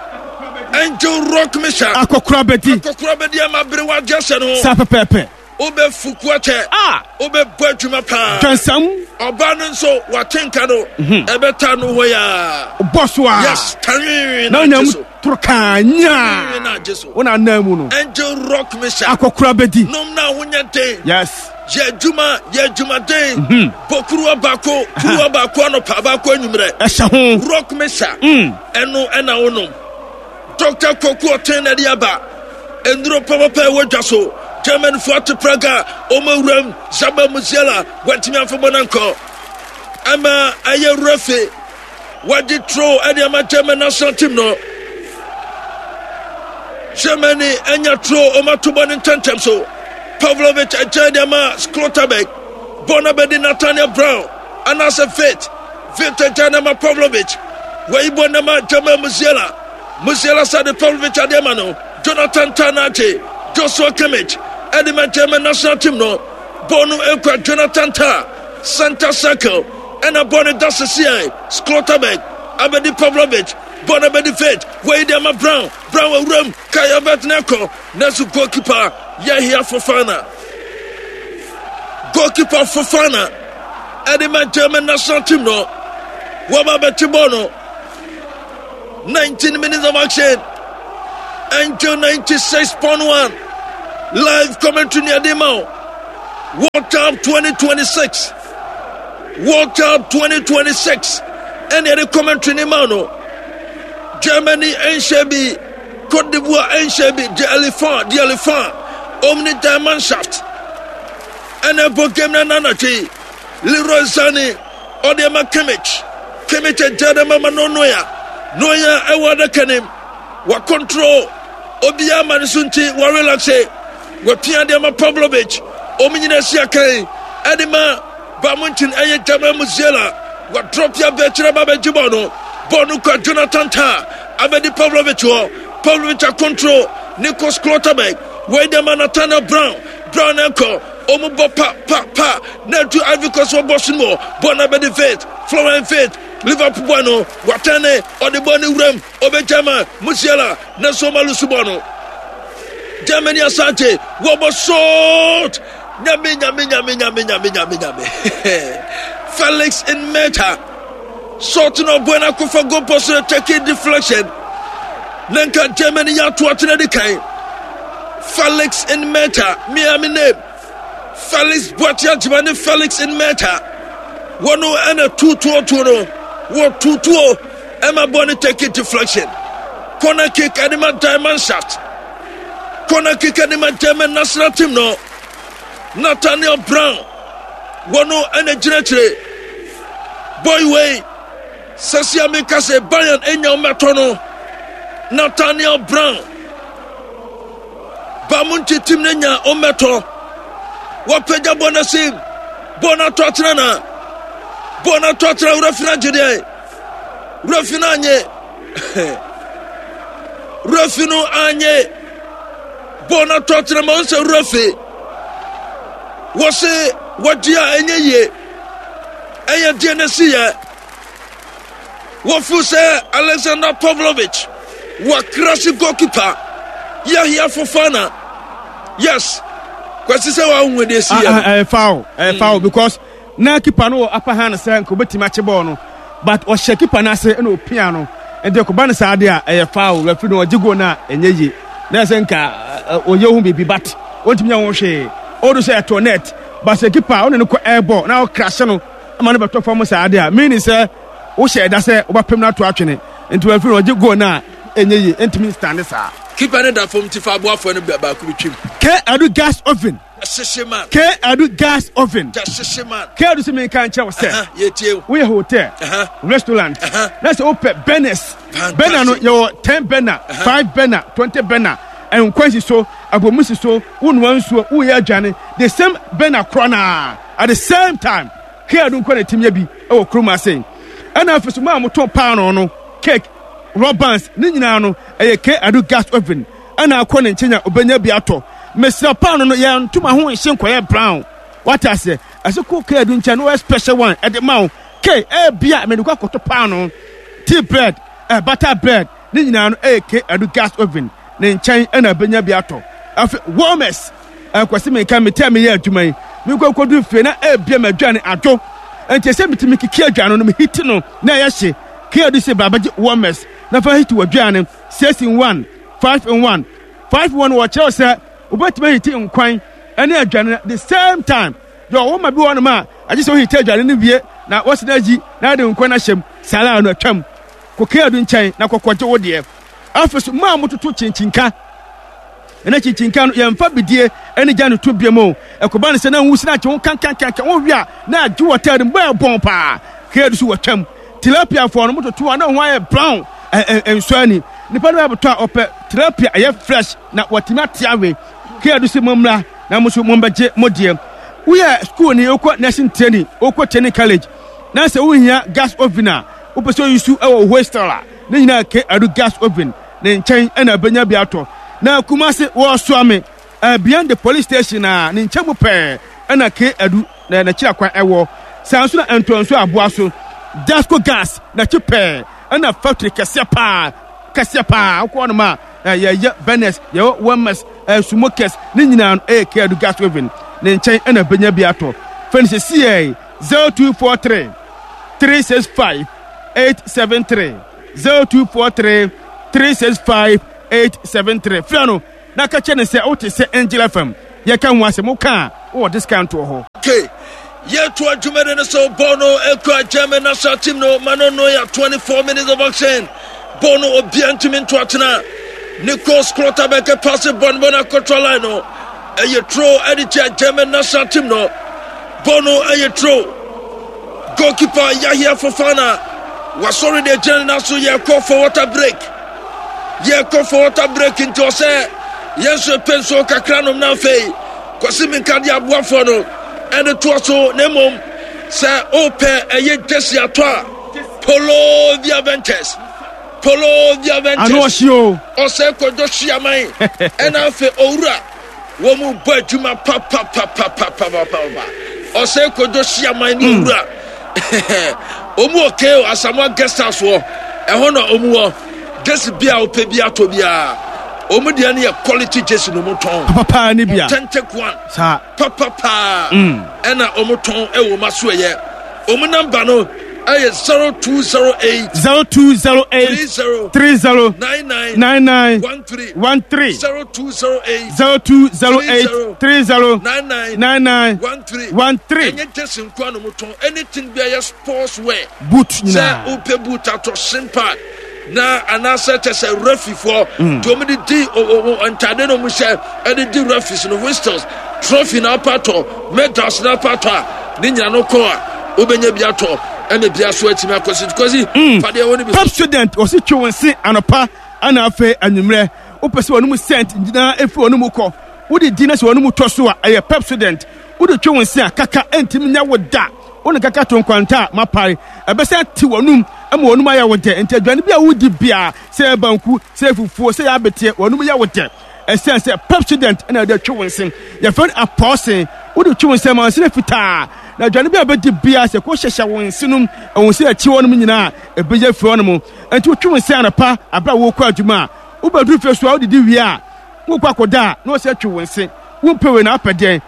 S1: Angel Rock Mesa.
S2: Akɔkora bɛdi.
S1: Akɔkora bɛdi ama bere wagye ahyɛ no.
S2: Saa pɛpɛɛpɛ.
S1: Wobɛfuku akyɛ.
S2: Ah.
S1: Wobɛbɔ adwuma paa.
S2: Dwansam.
S1: Ɔbaa no nso wate nka no. Mhm. Ɛbɛta no hɔ yaa.
S2: Bɔ so a.
S1: Yes, tanwinwin
S2: na agye so. Toro kaa nyaa.
S1: Na agye so.
S2: Wo na anan mu no.
S1: Angel Rock Mesa.
S2: Akɔkora bɛdi.
S1: Nom na ahonya den.
S2: Yes.
S1: Yɛ adwuma, yɛ adwumaden. Mhm. Bɔ kuruwa baako, kuruwa baako anɔpa, baako anwummerɛ.
S2: Ɛhyɛ ho.
S1: Rock Mesa. Mm. Ɛno ɛna wonom. Dr. Kwaku Ɔten na ɛde aba. Nnuro papapa ɛwɔ dwa so. Germanfoɔ ate Praga, wɔn awuram, Zaba Musiala, wɔntumi amfa bɔ no ankɔ. Ɛma ɛyɛ refe. Wɔde tro de ama German national team no. Germany anya tro wɔn ato bɔ ne ntɛntɛm so. Pavlovic agyae de ama Schlotterbeck. Bɔ no abɛdi Nathaniel Brown anaasɛ Vit. Vit agyae no ama Pavlovic. Wɔyi bɔ no ama Jamal Musiala. Musiala sa de Pavlovic ade ama no. Jonathan Tah na agye Joshua Kimmich ɛde ma German national team no. Bɔ no ekura Jonathan Tah. Center circle ɛna bɔ no da sesiɛ Schlotterbeck abɛdi Pavlovic bɔ no abɛdi Fate wɔyi de ama Brown Brown awuram Kai Havertz na ɛkɔ nanso goalkeeper Yahia Fofana goalkeeper Fofana ɛde ma German national team no wɔba abɛte bɔɔl no 19 minutes of action Angel 96.1 live commentary ni ɛde ma o World Cup 2026 World Cup 2026 ɛne ɛde commentary ni ma no Germany ɛnhyɛ bi Cote d'Ivoire ɛnhyɛ bi De Elephant De Elephant Omni Diamond Shaft ɛna ɛbɔ game na nanatwe Leroy Sane ɔde ama Kimmich. Kimmich agya de ama no Neuer. Neuer ɛwɔ adaka nim. Wa control obiara ma ne so nti wa relaxe. Wapia de ama Pavlovic. Wɔn nyinaa si akan ɛde ma Bayern Munchen ɛyɛ Jamal Musiala. Wa drop ya bɛ kyerɛ ba bɛgye bɔɔl no. Bɔɔl no kura Jonathan Tah abɛdi Pavlovic hɔ. Pavlovic a control Nico Schlotterbeck. Wei de ama Nathaniel Brown. Brown ɛkɔ. Wɔn bɔ pa pa pa na adu Ivory Coast wɔ bɔs no mu bɔ na bɛde Faith Florian Faith Liverpool bɔ no watɛn ne ɔde bɔ ne wuram ɔbɛgya ma Musiala na so ɔma lusu bɔ no Germany Asante wɔbɔ short nyame nyame nyame nyame nyame nyame nyame Felix Nmeta short na ɔbɔ na akɔfa goal post no take deflection na nka Germany yɛ ato atena di kan Felix Nmeta Miami name Felix Boakye Agyima ne Felix Nmeta wɔn ɛna tutuotuo no wɔ tutuo ɛma bɔ ne take deflection corner kick ɛde ma Diamond Shaft corner kick ɛde ma German national team no Nathaniel Brown wɔn ɛna gyinakyire boy wei sɛsia mi ka sɛ Bayern enya ɔmɛtɔ no Nathaniel Brown. Ba mu ntetem no nya ɔmmɛtɔ. Wɔpagya bɔ no ase, bɔ no atɔ atena na bɔ no atɔ atena wura fi no agye deɛ wura fi no anye. Refi no anye bɔɔl no atɔ atena ma ɔnsɛ refi wɔse wɔgye a ɛnyɛ yie ɛyɛ deɛ no si yɛ wɔfu sɛ Alexander Pavlovich wakrasi goalkeeper Yahya Fofana yes kwasi sɛ wahu deɛ si yɛ no
S2: ɛyɛ foul ɛyɛ foul because Na keeper no wɔ upper hand sɛ nka obetumi akye bɔɔl no but ɔhyɛ keeper no ase na opia no nti ɛkɔba no saa de a ɛyɛ foul referee no ɔgye goal no a ɛnyɛ yie na ɛsɛ nka ɔyɛ ho biribi but ɔntumi nyɛ ho hwee ɔdo sɛ ɛtɔ net but sɛ keeper ɔne no kɔ air ball na ɔkrashe no ama no bɛtɔ fam saa de a meaning sɛ wohyɛ ɛda sɛ wobɛpem no ato atwene nti referee no ɔgye goal no a ɛnyɛ yie ɛntumi nstande saa.
S1: Keeper no da fam nti fa aboafoɔ no baako bi twam.
S2: K adu gas oven.
S1: Hyehye
S2: K Adu gas oven.
S1: Hyehye man.
S2: K Adu sɛ menka nkyerɛ wo sɛ.
S1: Yɛtie wo.
S2: Woyɛ hotel, restaurant, na sɛ wopɛ burners. Burner no yɛwɔ 10 burner, 5 burner, 20 burner. Nkwan si so, abomu si so, wonoa nsuo, woyɛ aduane. The same burner korɔ naa at the same time. K Adu nkwa na ɛtumi yɛ bi wɔ kurom ase. Ɛna afei so mo a motɔn paanoo no, cake, rub bands ne nyinaa no ɛyɛ K Adu gas oven. Ɛna akɔ ne nkyɛn a obenya bi atɔ. Mesrɛ paano no yɛ ntoma ho nhye nkɔyɛ brown. Wate aseɛ? Ɛsɛ kɔ K adu nkyɛn na ɔyɛ special one ɛde ma wo. K ebia mede kɔ akɔtɔ paano, tea bread, eh, butter bread ne nyinaa no ɛyɛ K adu gas oven ne nkyɛn ɛna obenya bi atɔ. Afei warmers ɛkwasi menka me tɛ meyɛ adwuma yi menkɔ nkɔdu fie na ebia m'aduane adwo nti ɛsɛ metumi kiki aduane no mehiti no na ɛyɛ hye. K adu se bra bɛgye warmers na fa hiti w'aduane. 6 in 1, 5 in 1, 5 in 1 wɔkyerɛw sɛ wobɛtumi ahiti nkwan ne aduane no the same time. Yɛ ɔwɔ ma bi wɔ hɔnom a agye sɛ wohiti aduane no wie na wɔsi no ayi na ade nkwan no ahyɛ mu saa ara no atwam. Kɔ Keadu nkyɛn na kɔkɔgye wo deɛ. Afei so maa mototo kyenkyenka. Ɛna kyinkyin no yɛmfa bidie ne gya no to biam o. Ɛkɔba no sɛ na nwusi no agye wo kankankankan wowe a na agye wɔ taade mu bɛyɛ bɔn paa. Kea so wɔtwam. Tilapia foɔ no mototo a na ho ayɛ brown nsɔ ani. Nipa no bɛbɛtɔ a ɔpɛ tilapia ɛyɛ fresh na watumi ate awe. Kea so mommra na mo nso mombɛgye mo deɛ. Woyɛ school ni wokɔ nursing training wokɔ training college na sɛ wohia gas oven a wopɛ sɛ oyi su wɔ hostel a ne nyinaa ke adu gas oven. Ne nkyɛn na benya bi atɔ. Na Kumasi wɔsoa me eh, beyond the police station a ne nkyɛn mu pɛɛ ɛna K Adu na n'akyiri akwan ɛwɔ. Saa nso na Ntoanso aboa so Dasco gas n'akyi pɛɛ ɛna factory kɛseɛ paa kɛseɛ paa wokɔ hɔnom a eh, yɛyɛ burners yɛwɔ warmers eh, smokers ne nyinaa no ɛyɛ K Adu gas oven ne nkyɛn ɛna benya bi atɔ. Fɛn sɛ CA 0243 365 873. 0243 365 873. Frɛ no na ka kyerɛ no sɛ wote sɛ Angel FM yɛka ho asɛm woka a wowɔ discount wɔ hɔ.
S1: Okay. Yɛto adwumadi no so bɔɔl no ekura German national team no ma no no yɛ 24 minutes of action bɔɔl no obia ntumi nto atena Nico Schlotterbeck paase bɔɔl no bɔɔl no akɔtra line no ɛyɛ tro ɛde tia German national team no bɔɔl no ɛyɛ tro Goalkeeper Yahia Fofana wasɔre de agyina ne nan so yɛkɔ for water break yɛkɔ for water break nti ɔsɛ yɛn nso pɛ nsuo kakra nom na afei kwasi minka de aboafoɔ no ɛde toɔ so na mmom sɛ wopɛ ɛyɛ gyesi atɔ a Polo Via Ventures Polo Via Ventures ɔsɛ kɔdɔ hyiaman ɛna afei owura Wɔn mu bɔ adwuma papapapapapapa. Ɔsɛ kodo hyiaman ne hmm. owura. Wɔn wɔ KO Asamoah guest house wɔ. Ɛhɔ na wɔn wɔ. Jesi bi a wopɛ bi atɔ biara. Wɔn deɛ no yɛ quality jesi na wɔn tɔn.
S2: Papapaa ne bia.
S1: Authentic one.
S2: Saa.
S1: Papapaa. Hmm. Ɛna wɔn tɔn ɛwɔ wɔn aso ɛyɛ. Wɔn namba no ɛyɛ 0208.
S2: 0208.
S1: 30.
S2: 30.
S1: 99.
S2: 99.
S1: 13.
S2: 13.
S1: 0208.
S2: 0208 30
S1: 99
S2: 99
S1: 13.
S2: 13.
S1: Ɛnyɛ jersey nko na wɔtɔn anything bi a ɛyɛ sports wear.
S2: Boot
S1: Sɛ
S2: nyinaa.
S1: wopɛ boot atɔ shin pad na anaasɛ kyɛ sɛ refifoɔ mm. nti wɔn de di ntaade na wɔn hyɛ ɛde di refis no whistles trophy na apa atɔ medals na apa atɔ a ne nyina no kɔ a wobɛnya bi atɔ ɛna bi aso atumi akɔsi kɔsi mm. fadeɛ wɔ ne bi.
S2: Top student wɔsi twe wɔn se anɔpa. Ɛna afei anwummerɛ, wopɛ sɛ wɔn mu scent nyinaa ɛfiri wɔn mu kɔ, wode di na sɛ wɔn mu tɔ so a, ɛyɛ Pepsodent. Wode twe wo nse a, kaka ɛntumi nyɛ wo da. Wo ne kaka to nkwanta a, mapae. Ɛbɛsan te w'anum Ɛma w'anum ayɛ wo dɛ. Nti aduane bi a wodi biara, sɛ ɛyɛ banku, sɛ ɛyɛ fufuo, sɛ ɛyɛ abeteɛ, w'anum yɛ wo dɛ. Ɛsiane sɛ Pepsodent na ɛde twe wo nse. Yɛfrɛ no apɔɔse. Wode twe wo nse ma wo nse no fitaa. Na aduane bi a wobɛdi biara, sɛ kɔhyehyɛ wo nse nom, wo nse akyi hɔnom nyinaa a, ɛbɛyi afiri hɔnom. Nti wotwe wo nse anɔpa berɛ a worekɔ adwuma a, wobɛduru fie so a, wodidi wie a, wokɔ akɔda a, na wɔsɛ twe wo nse. Wompɛ wei na wopɛ deɛn?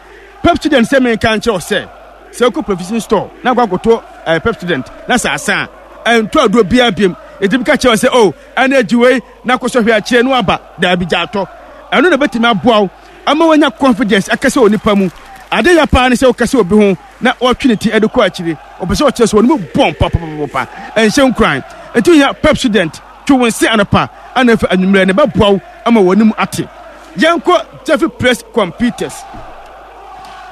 S2: Pepsodent sɛ menka nkyerɛ wo sɛ, sɛ wokɔ provision store na akɔ akɔtɔ eh, Pepsodent na sɛ asa a, ɛntɔ aduro biara biom. Ɛtumi ka kyerɛ wo sɛ, oh, ɛna agyi wei na akɔsɔ hwɛ akyire no aba. Daabi, gya atɔ. Ɛno na ɛbɛtumi aboa wo ama woanya confidence akasa wɔ nipa mu. Ade ya paa ne sɛ wokasa obi ho na ɔtwe ne ti de kɔ akyire. Ɔpɛ sɛ ɔkyerɛ sɛ wɔn mu bɔn papapapa. Ɛnhyɛ nkuran. Nti wohia Pepsodent. Twe wo nse anɔpa ana afei anwummerɛ na ɛbɛboa wo ama w'anim ate. Yɛnkɔ Jeffrey Place Computers.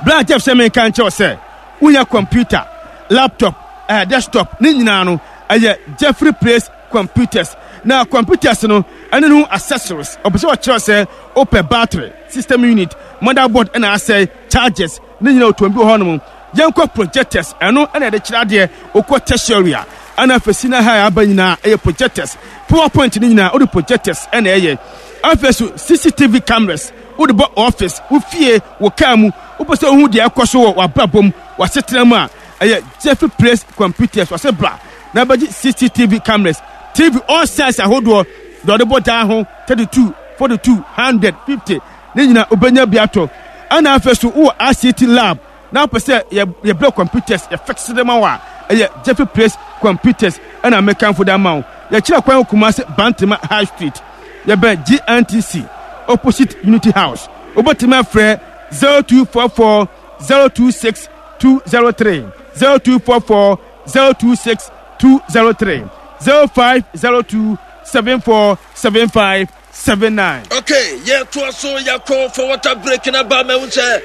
S2: Bra Jeff sɛ menka nkyerɛ wo sɛ wonya computer, laptop, eh, desktop ne nyinaa no ɛyɛ Jeffrey Place Computers. Na computers no ɛne ne ho accessories. Ɔpɛ sɛ ɔkyerɛ sɛ wopɛ battery, system unit, motherboard ɛna asɛe, chargers ne nyinaa ɔtɔn bi wɔ hɔnom. Yɛnkɔ projectors, ɛno ɛna yɛde kyerɛ adeɛ. Wokɔ tertiary a, ɛna afei senior high aba nyinaa ɛyɛ projectors. PowerPoint ne nyinaa wode projectors ɛna ɛyɛ. Afei so CCTV cameras wode bɔ office, wo fie, wo car mu. Wopɛ sɛ wohu deɛ ɛkɔ so wɔ w'abrabɔ mu, w'asetena mu a, ɛyɛ Jeffrey Place Computers. Wɔse bra na bɛgye CCTV cameras, TV all size ahodoɔ, deɛ ɔde bɔ dan ho, 32, 42, 100, 50, ne nyinaa wobɛnya bi atɔ. Ɛna afei so wowɔ ICT lab na wopɛ sɛ yɛbrɛ computers yɛ fix de ma wo a, ɛyɛ Jeffrey Place Computers ɛna mekamfo de ama wo. Yɛkyerɛ kwan wɔ Kumasi Bantama High Street, yɛbɛn GNTC opposite Unity House. Wobɛtumi afrɛ 0244 026 203, 0244 026 203, 0502 74 75 79.
S1: Okay, yɛtoa so yɛakɔ for water break na ba mahu sɛ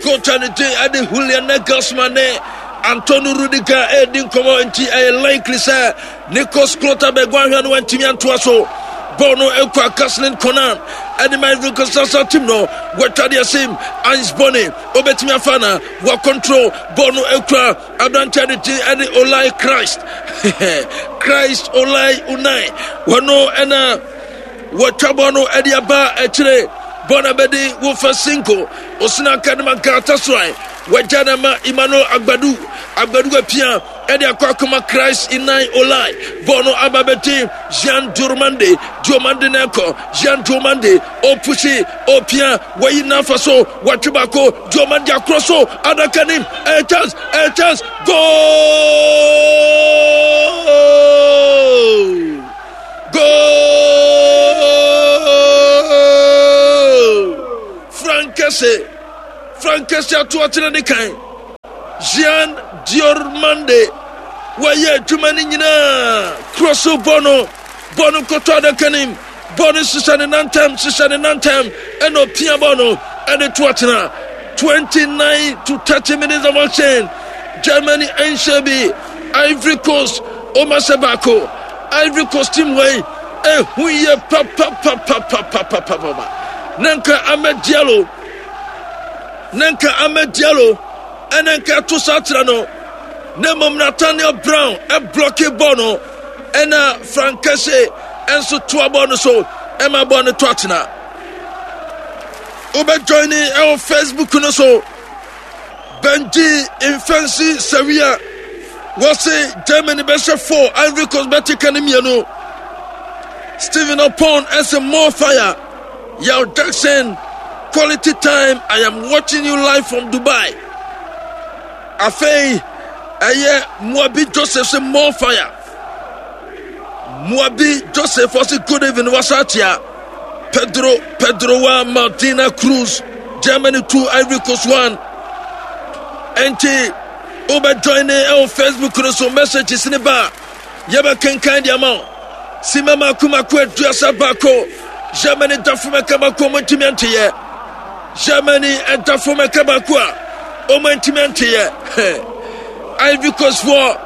S1: coach a ne din ɛde Julian Nagelsmann ne Antonio Rudiger ɛredi nkɔmmɔ nti ɛyɛ likely sɛ Nikos Klotterberg wanhwɛ no wantumi antoa so. Bɔɔl no ekura Kaslin Konan ɛde ma Ivory Coast national team no wɔatwa deɛ sim Ines Bonny obetumi afa na wɔakontrol bɔɔl no ekura aberanteɛ de din ɛde Olai Christ Christ Olai Unai wɔno ɛna wɔatwa bɔɔl no ɛde aba akyire bɔɔl no abɛdi wofa Cinco osina akadema Galatasaray wɔagya no ama Emmanuel Agbadu Agbadu apia ɛde akɔ akɔma Christ Inai Olai bɔɔl no aba bɛdi Jean Diomande Diomande na ɛkɔ Jean Diomande ɔpusi ɔpia wɔyi n'afa so wɔatwe baako Diomande akorɔ so adaka nim ɛyɛ chance ɛyɛ chance goal goal Frank Kese Frank Kese ato akyerɛ ne kan Jean Diormande wɔyɛ adwuma no nyinaa korɔ so bɔ no bɔ no kɔtɔ adaka no mu bɔ no hyehyɛ ne nantam hyehyɛ ne nantam ɛna ɔpia bɔ no ɛde to atena 29 to 30 minutes of action Germany ɛnhyɛ bi Ivory Coast ɔma hyɛ baako Ivory Coast team wei ɛhu yɛ papapapapapapapa na nka Ahmed Diallo na nka Ahmed Diallo ɛna nka ɛto saa kyerɛ no na mmom Nathaniel Brown ɛblɔke bɔɔl no ɛna Frank Kese ɛnso toa bɔɔl no so ɛma bɔɔl no to atena. Wobɛjoine ɛwɔ Facebook no so Benji Mfɛnsi Sawia wɔse Germany bɛhyɛ 4 Ivory Coast bɛte ka no mmienu. Stephen Opon ɛsɛ more fire. Yao Jackson, quality time. I am watching you live from Dubai. Afei, ɛyɛ Muabi Joseph sɛ more fire. Muabi Joseph ɔse good evening wasatia. Pedro Pedro wa Martina Cruz Germany 2 Ivory Coast 1. Enti wobɛ join ne ɛwɔ Facebook no so messages ne ba. Yɛbɛkenkan de ama wo. Simma mako mako 31. Germany da fam ɛka baako a wɔntumi anteyɛ. Germany ɛda fam ɛka baako a wɔntumi anteyɛ. Ivory Coast foɔ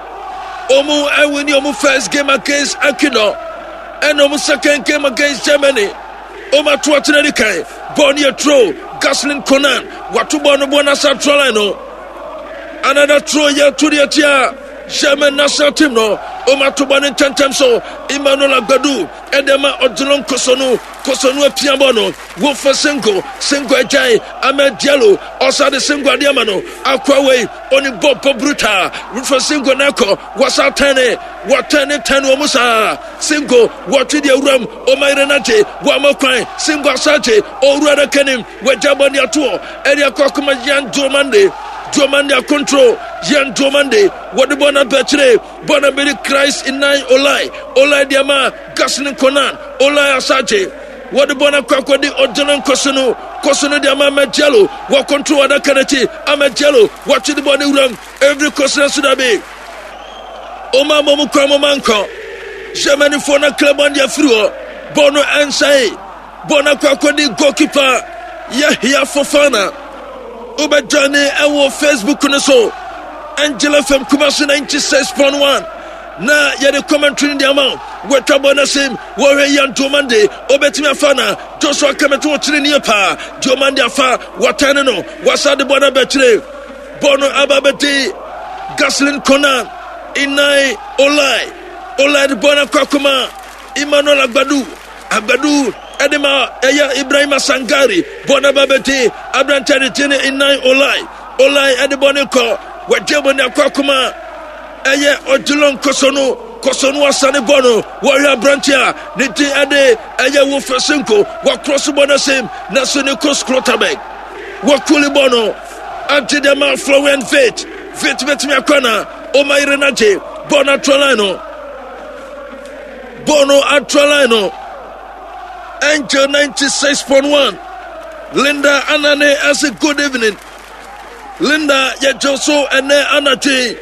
S1: wɔn ɛwini wɔn first game against Ecuador ɛna wɔn second game against Germany. Wɔn ato atena di kan. Bɔɔl no yɛ throw. Gaslin Conan wato bɔɔl no bɔɔl no asa throw line no. Another throw yɛ to deɛ tia. German national team no. Ɔma to bɔ ne ntɛntɛm so. Emmanuel Agbadu ɛde ma Odilon Kosonu. Kosonu apia bɔ no. Wofa Sengo. Sengo agyae. Ahmed Diallo. Ɔsa de Sengo adeɛ ama no. Akoa wei. Ɔne bɔ bɔ brutal. Wofa Sengo na ɛkɔ. Wɔsa tɛne. Wɔtɛne tɛne wɔn saa. Sengo. Wɔtwe deɛ wuram. Ɔma yere no agye. Wɔama kwan. Sengo asa agye. Owura no kanim. Wɔagya bɔ ne atoɔ. Ɛde akɔ akoma Yan Diomande. Diomande akontro. Yan Diomande. Wɔde bɔ no abɛkyere. Bɔ no bɛdi Christ Inan Olai. Olai de ama Gaslin Konan. Olai Asagye. Wɔde bɔ no akɔ akɔdi Odilon Kosunu. Kosunu de ama Ahmed Diallo. Wɔkontro adaka no akyi. Ahmed Diallo. Wɔtwe de bɔ ne wuram. Every Kosunu nso dabi. Ɔma mmɔ mu kwan mo ma nkɔ. Germanyfoɔ no akra bɔ no de afiri hɔ. Bɔ no ɛnsae. Bɔ no akɔ akɔdi goalkeeper Yahya Fofana. Wobɛjoine ɛwɔ Facebook no so. Angel FM Kumasi 96.1 na yɛde commentary no de ama wo. Wɔatwa bɔ no asim wɔhwɛ Ian Diomande obetumi afa na Joshua Kimmich wɔkyerɛ nie paa. Diomande afa wɔatɛne no wɔasa de bɔ no abɛkyerɛ bɔ no aba bɛdi Gaslin Konan Inai Olai Olai de bɔ no akɔ akoma Emmanuel Agbadu Agbadu de ma ɛyɛ Ibrahima Sangare bɔ no aba bɛdi aberanteɛ de gye ne Inai Olai Olai de bɔ ne kɔ wɔgye bɔ ne akɔ akoma ɛyɛ Odilon Kosonu Kosonu asane bɔ no wɔhwɛ aberanteɛ a ne din ɛde ɛyɛ Wofe Senko wɔkorɔ so bɔ no asim na so ne kɔ Skrotabek wɔkuli bɔ no agye de ma Florian Vit Vit bɛtumi akɔ na ɔma yere no agye bɔ no atoa line no Bɔ no atra line no. Angel 96.1. Linda Anane ɛsɛ good evening. Linda yɛgye so ɛnɛ anadwo yi.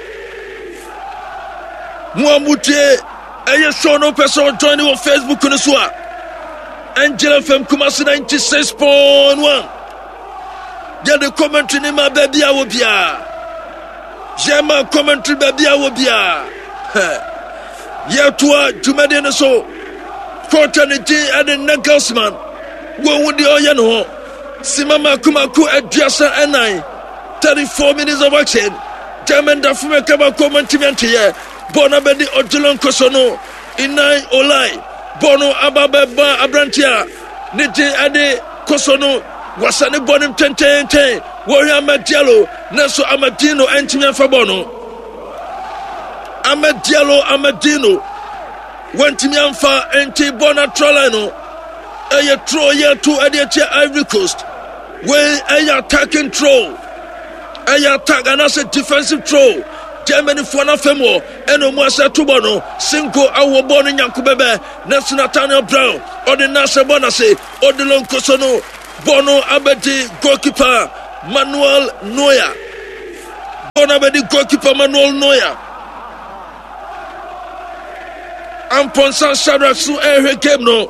S1: Mo a motie ɛyɛ show no pɛ sɛ ɔjoin wɔ Facebook no so a. Angel FM Kumasi 96.1. Yɛde commentary ne ma baabi a wɔ biara. Yɛma commentary baabi a wɔ biara. Yɛtoa dwumadi no so. Kɔɔta ne din de Nagelsmann. Wɔhu deɛ ɔyɛ no ho. Sima mako mako 34, 34 minutes of action. German da fam ɛka baako ɔmo ntumi anteyɛ. Bɔɔl no abɛdi Odilon Koso no. Inai Olai. Bɔɔl no aba bɛba aberante a ne din de Koso no. Wɔsane bɔɔl no ntɛntɛntɛn. Wɔhwɛ Amad Diallo nanso Amadino antumi amfa bɔɔl no. Ahmed Diallo Amadino wantumi amfa nti bɔ no atra line no ɛyɛ throw yɛ to ɛde akyia Ivory Coast wei ɛyɛ attacking throw ɛyɛ attack anaasɛ defensive throw Germany foɔ no afam wɔ ɛna ɔmu asɛ to bɔ no Sinko awɔ bɔ no nyanko bɛbɛ nanso Nathaniel Brown ɔde n'asɛ bɔ n'ase Odilon Koso no Bɔ no abɛdi goalkeeper Manuel Neuer. Bɔ no abɛdi goalkeeper Manuel Neuer. Amponsah Shadrack so ɛrehwɛ game no.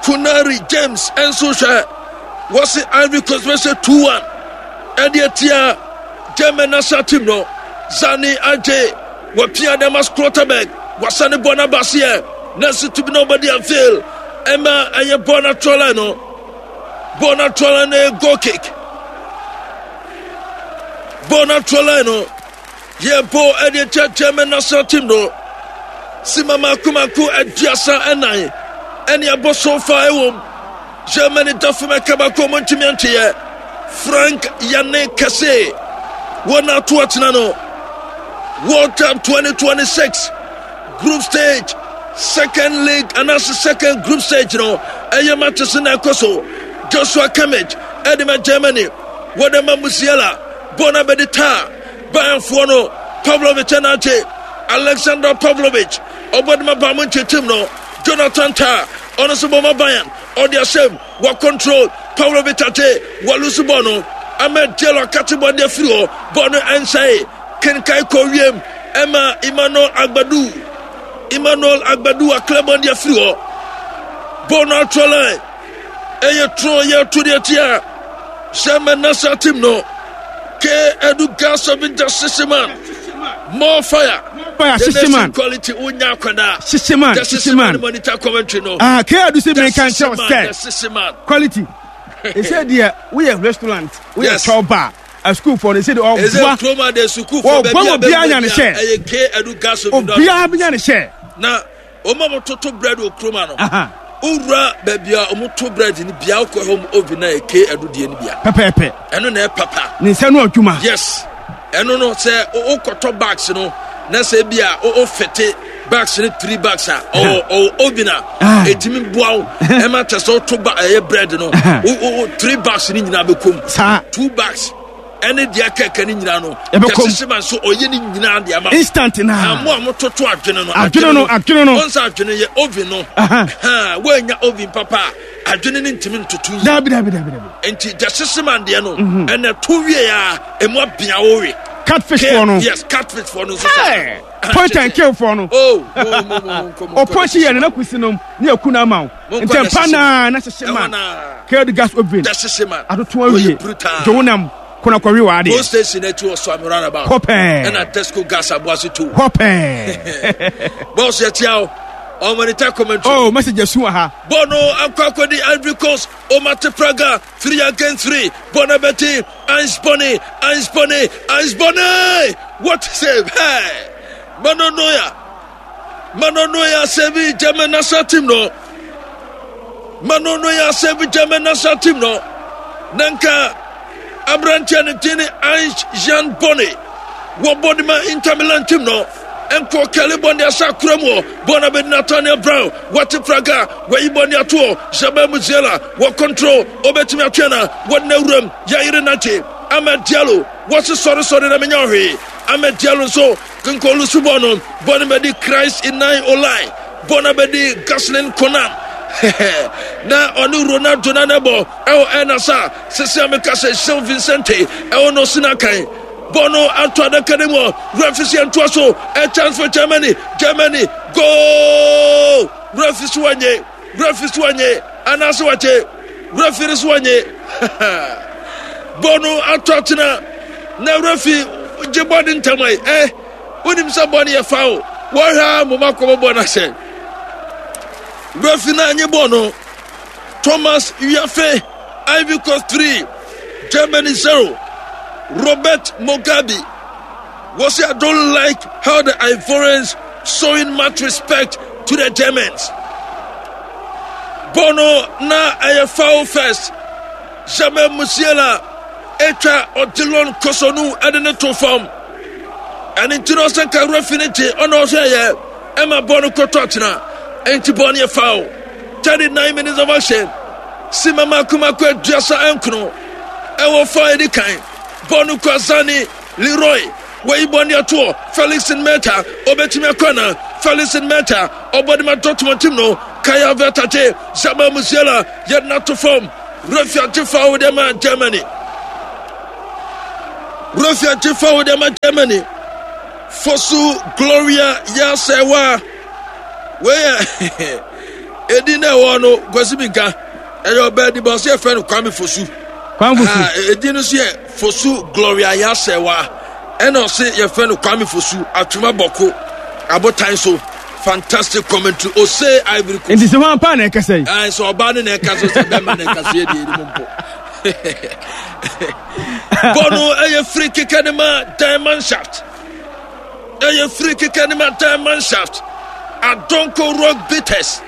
S1: Kunari James nso hwɛ. Wɔsi Ivory Coast bɛhyɛ 2-1 ɛde atia German national team no. Zani Agye wɔpia Damas Klotterberg wɔasane bɔ no aba aseɛ nanso tumi na ɔbɛde avail ɛma ɛyɛ bɔ no atrɔ line no. Bɔɔl no ato line no yɛ goal kick. Bɔɔl no ato line no yɛ bɔɔl ɛde akyɛ German national team no. Sima mako mako 34 ɛne abɔ so fa ɛwɔ mu. Germany da fam ɛka baako ɔmo ntumi anteyɛ. Frank Yanne Kɛse wɔn ato akyena no. World Cup 2026 Group stage, second league anaasɛ second group stage no ɛyɛ matches na ɛkɔ so. Joshua Kimmich ɛde ma Germany, wɔde ma Musiala, bɔɔl no abɛde taa Bayernfoɔ no, Pavlovic ɛna agye Alexander Pavlovic ɔbɔ de ma Bayern Munich team no, Jonathan Tah ɔno nso bɔ ma Bayern, ɔde ahyɛm, wɔ control Pavlovic agye, wɔlusu bɔɔl no, Ahmed Diallo akate bɔɔl de afiri hɔ, bɔɔl no ɛnsɛe. Kenkan kɔ wiem ɛma Emmanuel Agbadu. Emmanuel Agbadu aklɛbɔn de afiri hɔ. Bɔɔl no ato line. Ɛyɛ turo yɛ to deɛ tia. German national team no. K Edu Gas of Sisiman. More fire.
S2: Fire Sisiman.
S1: Quality unya akwadaa.
S2: Sisiman. Sisiman.
S1: Monitor commentary no.
S2: Ah K Edu si mi kan kyerɛ sɛ. Quality. Ɛsɛ deɛ woyɛ restaurant woyɛ chop bar. asukuufoɔ no ɛsɛ de ɔboa
S1: ɔboa
S2: ma obiara nya ne hyɛ obiara bɛnya ne hyɛ
S1: na Wɔn a wɔtoto bread wɔ kurom ano. Wowura baabi a wɔto bread no bia wokɔ hɔ oven na ɛke ɛdo deɛ no bia.
S2: Pɛpɛɛpɛ.
S1: Ɛno na ɛpapa.
S2: Ne nsa no adwuma.
S1: Yes. Ɛno no sɛ wokɔtɔ bags no na sɛ bi a wofete bags no three bags a ɔwɔ ɔwɔ oven a ɛtumi boa wo ɛma kyɛ sɛ woto ba ɛyɛ bread no wo three bags no nyinaa bɛkɔm.
S2: Saa.
S1: Two bags. ɛne deɛ kɛkɛ ne nyinaa no
S2: ɛbɛkɔm
S1: kyɛsese ma nso ɔyɛ ne nyinaa deɛ ama
S2: instant na
S1: mo a mototo adwene no
S2: adwene no adwene no
S1: ɔnsa adwene yɛ oven no woanya oven papa a adwene no ntumi ntoto yi
S2: dabi dabi dabi dabi
S1: nti gyesese ma deɛ no mhm. ɛnɛ to wie a emu abea wo we
S2: catfish fo no
S1: yes catfish fo no nso
S2: sa point and kill fo no
S1: oh mo mo mo
S2: mo ɔpɔnkye yɛ ne na kusi nom ne aku no ama wo ntɛmpa naa na hyehye ma kɛd gas oven atoto awie dwo wo nam kona kɔwe wɔ adeɛ
S1: police station akyi wɔ so roundabout
S2: hɔ pɛɛ
S1: ɛna tesco gas aboase tu
S2: hɔ pɛɛ
S1: bɔs yɛtia wo ɔmɔnita commentary
S2: oh message asu wɔ ha
S1: bɔɔl no akɔ akɔdi Ivory Coast Omate Praga 3 against 3 bɔɔl no bɛti Ange Bonny Ange Bonny Ange Bonny what save hey Mano Noya Mano Noya save German national team no Mano Noya save German national team no na nka aberanteɛ no din ne Ange Jean Bonny wɔbɔ de ma Inter Milan team no nkɔ kɛle bɔne ahyɛ akora mu hɔ bɔne abɛdi Nathaniel Brown wɔte praga wɔyi bɔne atoɔ Jamal Musiala wɔ control obɛtumi atwɛn na wɔde no awuram yɛyere nante Ahmed Diallo wɔse sɔresɔre na menya ɔhwee Ahmed Diallo nso Nkɔlu so bɔ no bɔ no bɛdi Christ Inai Olai bɔ no bɛdi Gaslin Konan na ɔne Ronaldo na ne bɔ ɛwɔ ɛna sa sese a meka sɛ Jean Vincente ɛwɔ no sina kan bɔ no ato adaka no mu refi so yɛntoa so a chance for Germany Germany goal refi so wanye Refi so anye anaasɛ wakye refi no so anye bɔ no ato atena na refi gye bɔ ne ntam ayi ɛ wonim sɛ bɔ no yɛ foul wɔhwɛ a moma kɔbɔ bɔ no ahyɛ refi no anye bɔ no Thomas Wiafe Ivory Coast 3 Germany 0 Robert Mugabe Wɔsi I don't like how the Ivorians showing much respect to the Germans. Bɔɔl no na ɛyɛ foul first. Jamal Musiala atwa Odilon Kosonu ɛde ne to fam. Ɛne nti no ɔsɛ nka refi ne gye ɔna ɔhwɛ yɛ ɛma bɔɔl no kɔtɔ atena. Ɛnti bɔɔl no yɛ foul. 39 minutes of action. Sima mako mako 39 ɛwɔ fa edi kan. Bɔɔl no kɔ Azani Leroy, wayi bɔne atoɔ, Felix Meta, ɔbɛtumi akɔ ana? Felix Meta, ɔbɔ de ma Dortmund team no, Kai Havertz agye, Jamal Musiala, yɛde no ato fam, Refi agye foul de ama Germany. Refi agye foul de ama Germany. Fosu Gloria Yasewa. Wei yɛ edin na ɛwɔ no Kwasi Binka. Ɛyɛ ɔbaa di bɔ ɔsɛ yɛfrɛ no Kwame Fosu.
S2: Kwame Fosu. Ah,
S1: edin no so yɛ Fosu Gloria Yasewa ɛna ɔse yɛfrɛ no Kwame Fosu Atwoma Bɔko abotan so fantastic commentary ose Ivory Coast.
S2: Nti sɛ wɔn paa na ɛkasa yi.
S1: Ɛn sɛ ɔbaa no na ɛkasa sɛ bɛrima na ɛkasa yɛ deɛ ɛnim mpo. Bɔ no ɛyɛ free kick ne ma Diamond Shaft. Ɛyɛ free kick ne ma Diamond Shaft. Adonko Rock Bitters.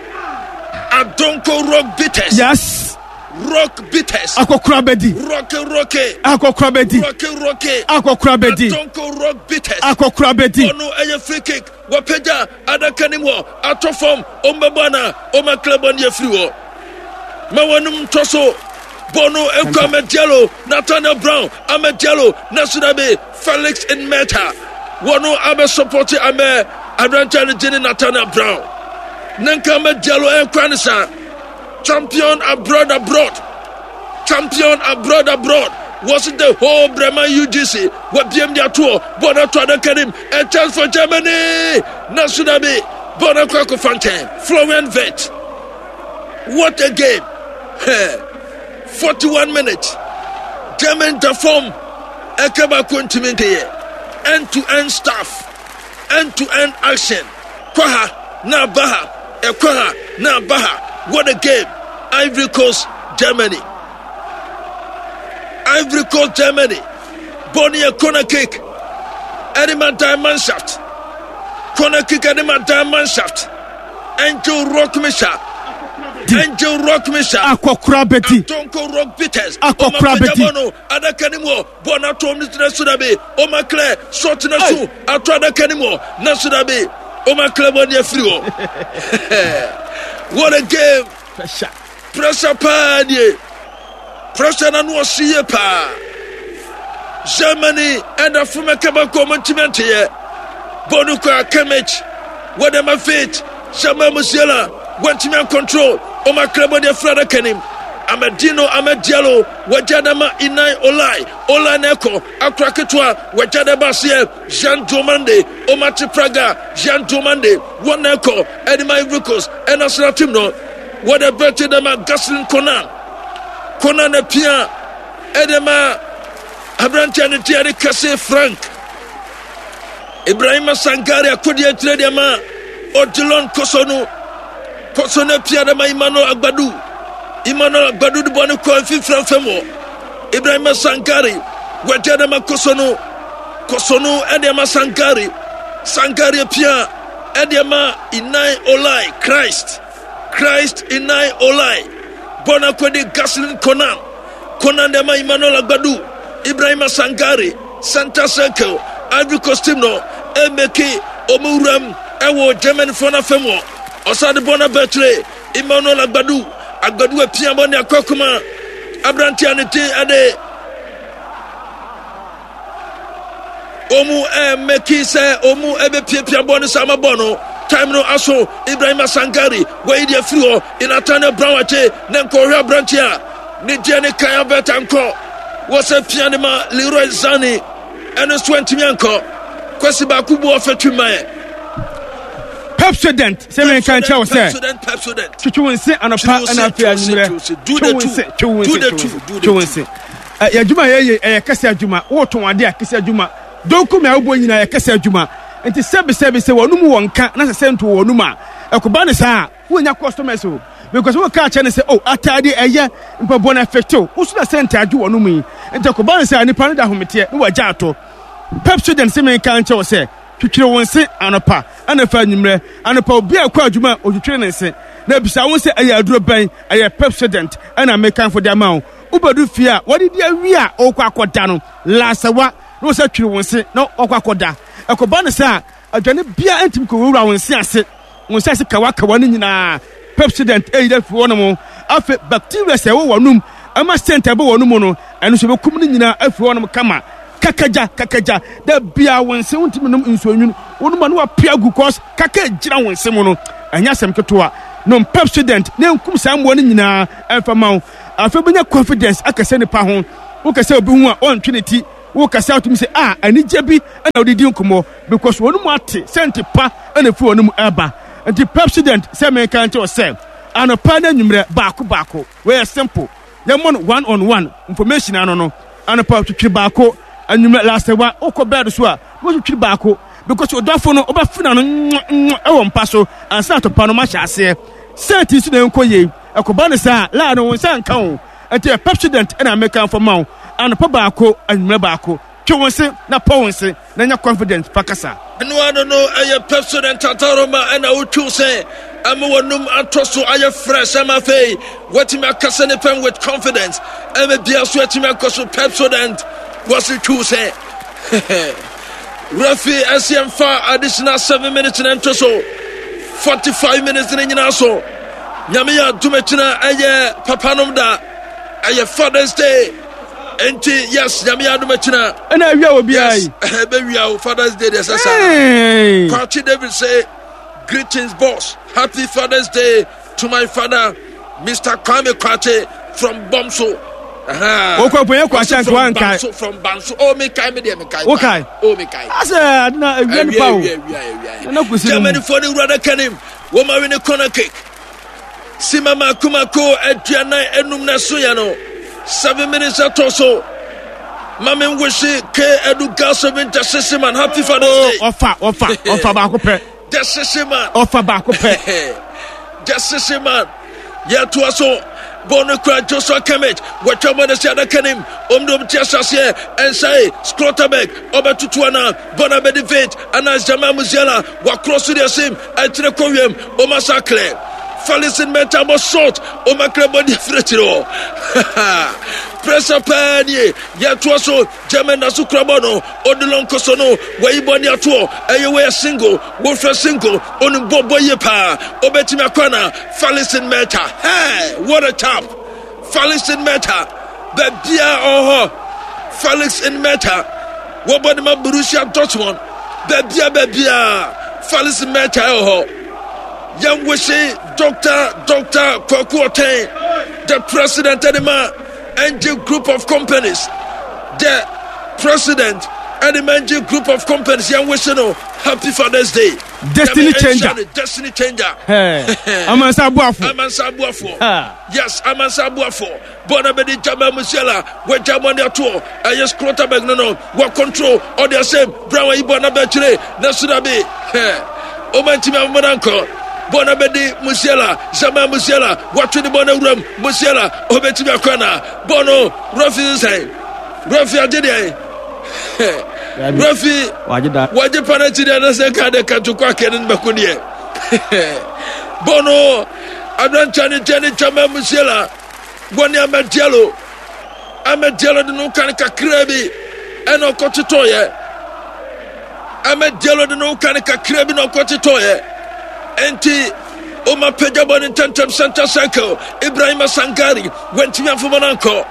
S1: Adonko Rock Bitters.
S2: Yes.
S1: Rock bitters.
S2: Akɔkora bɛdi.
S1: Rock rock.
S2: Akɔkora bɛdi.
S1: Rock rock.
S2: Akɔkora bɛdi.
S1: Atonko rock bitters.
S2: Akɔkora bɛdi.
S1: Ɔno ɛyɛ free kick. Wɔpagya adaka no mu hɔ atɔ fam. Ɔmbɛbɔ ana? Ɔma bɔ no afiri hɔ. Ma wɔnom ntɔ so. Bɔ no ekɔ Ahmed Diallo, Nathaniel Brown, Ahmed Diallo, Nasudabe, Felix Nmeta. Wɔno abɛ support Ahmed aberanteɛ no gye ne Nathaniel Brown. Nanka Ahmed Diallo ɛnkora ne saa. Champion abroad abroad. Champion abroad abroad. Was the whole Bremen UGC. Wabiem de atoɔ. Bɔɔl no ato adaka nim. A chance for Germany. Nanso dabi. Bɔɔl no akɔ akɔfa nkyɛn. Florian Wirtz. What a game. 41 minutes. German da fam. Ɛka baako ntumi nkeyɛ. End to end stuff. End to end action. Kɔ ha na aba ha, ɛkɔ ha na aba ha. What a game! Ivory Coast, Germany. Ivory Coast, Germany. Bɔɔl no yɛ corner kick ɛde ma Die Mannschaft. Corner kick ɛde ma Die Mannschaft. Angel Rock Misha. Angel Rock Misha.
S2: Akɔkora bɛdi.
S1: Atonko Rock Bitters.
S2: Akɔkora bɛdi.
S1: No adaka no mu hɔ. Bɔɔl no ato ne tena so dabi. Oma Claire shot na so ato adaka no mu hɔ. Na so dabi. Oma Claire bɔ ne afiri hɔ. What a game.
S2: Pressure.
S1: Pressure paa nie. Pressure na no ɔhye yie paa. Germany ɛda fam ɛka baako ɔmo ntumi anteyɛ. Bɔɔl no kɔ Kimmich. Wɔde ma Fit. Jamal Musiala wɔntumi ancontrol. Ɔmo akra bɔ de afiri adaka nim. Amadino Amad Diallo wɔgya da ma Inai Olai. Olai na ɛkɔ akora ketewa wɔgya da ba aseɛ. Jean Diomande Omate Praga Jean Diomande wɔn na ɛkɔ ɛde ma Ivory Coast ɛna team no. Wɔde bɛte dɛ ma Gaslin Konan. Konan apia ɛde ma aberanteɛ no deɛ de kɛse Frank. Ibrahima Sangare akodeɛ akyerɛ deɛ ma Odilon Kosonu. Kosonu apia de ma Emmanuel Agbadu. Emmanuel Agbadu de bɔ ne kɔ mfimfini fam hɔ. Ibrahima Sangare wɔagya de ma Kosonu. Kosonu ɛde ma Sangare. Sangare apia ɛde ma Inai Olai Christ. Christ Inai Olai bɔ no akɔdi Gaslin Konan. Konan de ma Emmanuel Agbadu. Ibrahima Sangare center circle Ivory Coast team no emeki ɔmo wuram ɛwɔ Germany foɔ n'afɛm wɔ ɔsan de bɔ no abɛkyerɛ Emmanuel Agbadu. Agbadu apia bɔ ne akɔ akoma aberanteɛ ne ti ɛde Ɔmu ɛmɛki sɛ ɔmu ɛbɛpiapia bɔ no sɛ ama bɔ no time no aso. Ibrahima Sangare wɔyi deɛ firi hɔ. Nathaniel Brown akye ne nkɔhwɛ aberante a ne deɛ ne kan abɛta nkɔ wɔ sɛ pia ne ma Leroy Sane ɛno nso antumi ankɔ. Kwasi baako bu ɔfɛ twi mmaɛ.
S2: Pepsodent sɛ menka nkyerɛ wo sɛ twitwi wo nse anɔpa ɛna afei anwummerɛ twe wo nse twe wo nse twe wo nse. Yɛ adwuma a yɛyɛ ɛyɛ kɛse adwuma. Wotɔn ade a kɛse adwuma. Donko mi a wobɔ nyinaa yɛ kɛse adwuma. Nti sɛbi sɛbi sɛ wɔn mu wɔ nka na sɛ sɛ nto wɔn mu a, ɛkɔba ne saa a, wonya customers o. Because woka akyɛ ne sɛ oh ataade ɛyɛ mpaboa no ɛfɛtew. Woso na sɛ ntaade wɔn mu yi. Nti ɛkɔba ne saa nipa no da ahometeɛ na wagya ato. Pepsodent sɛ menka nkyɛ wo sɛ twitwiri wo nse anɔpa ɛna fa anwummerɛ. Anɔpa obi a ɛkɔ adwuma a otwitwiri ne nse. Na bisa wo sɛ ɛyɛ aduro bɛn? Ɛyɛ Pepsodent ɛna mekanfo de ama wo. Wobɛdu fie a, wɔadidi awie a wokɔ akɔda no, lasawa na wɔsɛ twiri wo nse na wakɔ akɔda. Ɛkɔba no saa a, aduane biara ntumi kɔwurawura wo nse ase. Wo nse ase kawakawa no nyinaa, Pepsodent ayi afiri hɔnom. Afei bacteria a ɛwɔ w'anom ɛma scent a ɛbɔ w'anom no, ɛno nso ɛbɛkum no nyinaa afiri hɔnom kama. Kakagya, kakagya, da biara wo nse wontumi nom nsuo nwunu, wonom a na wapia agu cause kaka gyina wo nse mu no, ɛnyɛ asɛm ketewa. Nom Pepsodent na ɛnkum saa mmoa no nyinaa ɛmfa ma wo. Afei wobɛnya confidence akasa nipa ho. Wokasa obi ho a ɔntwe ne ti. Wokasa wotumi sɛ ah anigye bi na wode di nkɔmmɔ because wɔn mu ate sɛnte pa na ɛfiri wɔn mu ɛba. Nti Pepsodent sɛ menka nkyɛ wo sɛ anɔpa ne anwummerɛ baako baako. Wei yɛ simple. Yɛmmɔ no one on one information ano no. Anɔpa twitwiri baako, anwummerɛ last wa wokɔ bed so a na watwitwiri baako because ɔdɔfo no wobɛfe n'ano nwa ɛwɔ mpa so ansa na atɔpa no mahyɛ aseɛ. Sɛnti so na ɛnkɔ yie. Ɛkɔba no saa a, laa no wo nsa nka o. Ɛnti yɛ Pepsodent na mekamfo ma wo. Anɔpa baako, anwummerɛ baako. Twe wo nse na pɔ wo nse na nya confidence fa kasa.
S1: Ɛno ano no ɛyɛ Pepsodent ataroma ɛna wotwiw sɛ ama w'anum atɔ so ayɛ fresh ama afei watumi akasa ne pɛn with confidence ɛma bia so atumi akɔ so. Pepsodent wɔse twiw sɛ Referee ɛsɛ mfa additional 7 minutes na nto so 45 minutes ne nyinaa so. Nyame yɛ adom akyina ɛyɛ papanom da ɛyɛ Father's Day nti yes nyame yɛ adom akyina
S2: ɛna awia wɔ biara yi
S1: ɛbɛwia o Father's Day deɛ sɛ saa. Kwakye David say greetings boss, happy Father's Day to my father Mr. Kwame Kwakye from Bomso.
S2: Wokɔ ponyɛ Kwakye anka wankae.
S1: From Banso. Oh, me kai me deɛ me kai.
S2: Wokae.
S1: Oh, me kai.
S2: Asɛ adena awia nipa o. Awia awia
S1: awia. Germany for the wura kanim. Wɔn awi ne corner kick. Sima mako mako 45 na so yɛ no. 7 minutes atɔ so. Mame nwese ke edu gas seven justice man happy Father's Day.
S2: Ɔfa ɔfa ɔfa baako pɛ.
S1: Justice man.
S2: Ɔfa baako pɛ.
S1: Justice man. Yɛtoa so. Bɔɔl no kura Joshua Kimmich. Wɔatwa bɔɔl no asi adaka no mu. Wɔn de wɔn ti ahyɛ aseɛ. Ɛnsae. Schlotterbeck ɔbɛtoto anaa? Bɔɔl no abɛdi Veit anaa Jamal Musiala. Wakorɔ so de asim. Ɛkyerɛ kɔ wiem. Wɔn asa aklɛ. Falison Mensah bɔ short. Wɔn aklɛ bɔɔl de afiri akyire hɔ. Pressure paa nie. Yɛtoa so. German da so kura bɔɔl no. Odilon Koso no. Wɔayi bɔɔl de atoɔ. Ɛyɛ wei yɛ single. Wofrɛ single. Onim bɔɔl bɔ yie paa. Obetumi akɔ anaa? Falison Mensah. Hey, what a chap. Falison Mensah. Baabia ɔwɔ hɔ. Felix Mensah. Wɔbɔ ne ma Borussia Dortmund. Baabia baabia. Felix Mensah ɛwɔ hɔ. Yɛn wese Dr. Kwaku Oteng, the president ɛde ma NG Group of Companies. The president ɛde ma NG Group of Companies. Yɛn wese no Happy Father's Day.
S2: Destiny changer.
S1: Destiny changer.
S2: Amansa Abuafo.
S1: Amansa Abuafo. Yes, Amansa Abuafo. Bɔɔl bɛdi Jamal Musiala. Wɔagya bɔɔl de atoɔ. Ɛyɛ Schlotterbeck no no. Wɔ control. Ɔde asɛm. Brown ayi bɔɔl no abɛkyire. Na so dabi. Ɔma ntumi amoma no ankɔ. Bɔɔl no bɛdi Musiala. Jamal Musiala. Wɔatwe ne bɔɔl no awuram. Musiala. Ɔbɛtumi akɔ ana. Bɔɔl no. Referee sɛn. Referee agye deɛ. Referee. Wɔagye penalty deɛ na sɛ nka de katoko akɛ ne bɛko deɛ. Bɔɔl no. Aberanteɛ no gyɛ ne Jamal Musiala. Wɔne Ahmed Diallo. Ahmed Diallo de no kan kakraa bi ɛna ɔkɔtotɔeɛ. Ahmed Diallo de no kan kakraa bi na ɔkɔtotɔeɛ. Enti ɔma pagya bɔ ne ntɛntɛm center circle. Ibrahim Sangari wantumi amfoma no ankɔ.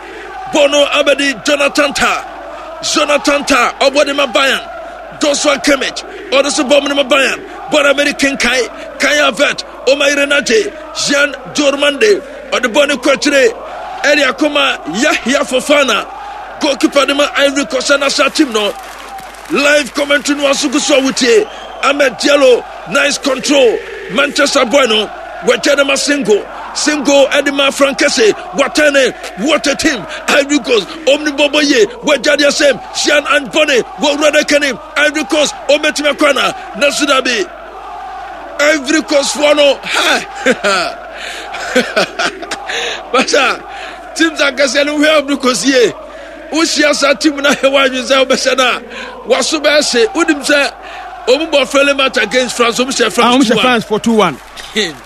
S1: Bɔ no abɛdi Jonathan Tah. Jonathan Tah ɔbɔ de ma Bayern. Joshua Kimmich ɔno nso bɔ de ma Bayern. Bɔ no abɛdi Kinkai Kai Havertz. Ɔma yere no agye Jean Diormande ɔde bɔ ne kɔ akyire ɛde akɔma Yahya Fofana, goalkeeper de ma Ivory Coast national team no. Live commentary no aso gu so a wotie. Ahmed Diallo, nice control. Manchester boy no wɔagya no ma Singo. Singo ɛde ma Frankese watɛne. What a team Ivory Coast. Omni bɔbɔ yie wɔagya deɛ sɛm Jean Anbone wɔwura no kani Ivory Coast ɔmɛtumi akɔ ana na so dabi Ivory Coast foɔ no ha basa teams akɛseɛ no wohwɛ Ivory Coast yie wohyia saa team no ahɛ woadwene sɛ wobɛhyɛ no a waso bɛɛhye. Wonim sɛ ɔmu bɔ friendly match against France, ɔmu hyɛ France.
S2: Ɔmu hyɛ France for 2-1.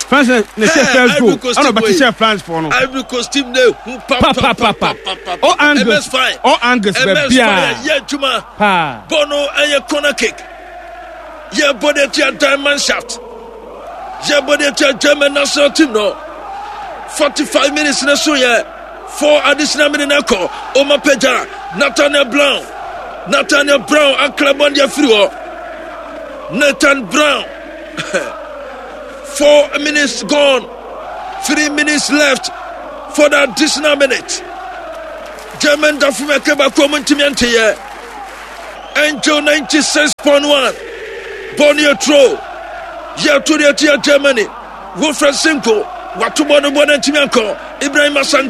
S2: France na hyɛ first goal ɛna ɔbɛte hyɛ France for no.
S1: Ivory Coast team na ehu papapapa.
S2: All angles, all angles baabi a
S1: yɛ adwuma bɔ no ɛyɛ corner kick. Yɛbɔ de atua Diamond Shaft. Yɛbɔ de atua German national team no. 45 minutes na so yɛ 4 additional minutes na kɔ. Oma pagya Nathaniel Brown. Nathaniel Brown akra bɔ de afiri hɔ. Nathan Brown. 4 minutes gone. 3 minutes left for the additional minute. German dafo mɛkɛ baako mu ntumi nteyɛ. Angel 96.1 bɔɔl no yɛ turo yɛto deɛ tia Germany. Wilfred Sinko wato bɔɔl no, bɔɔl no antumi ankɔ. Ibrahim Asan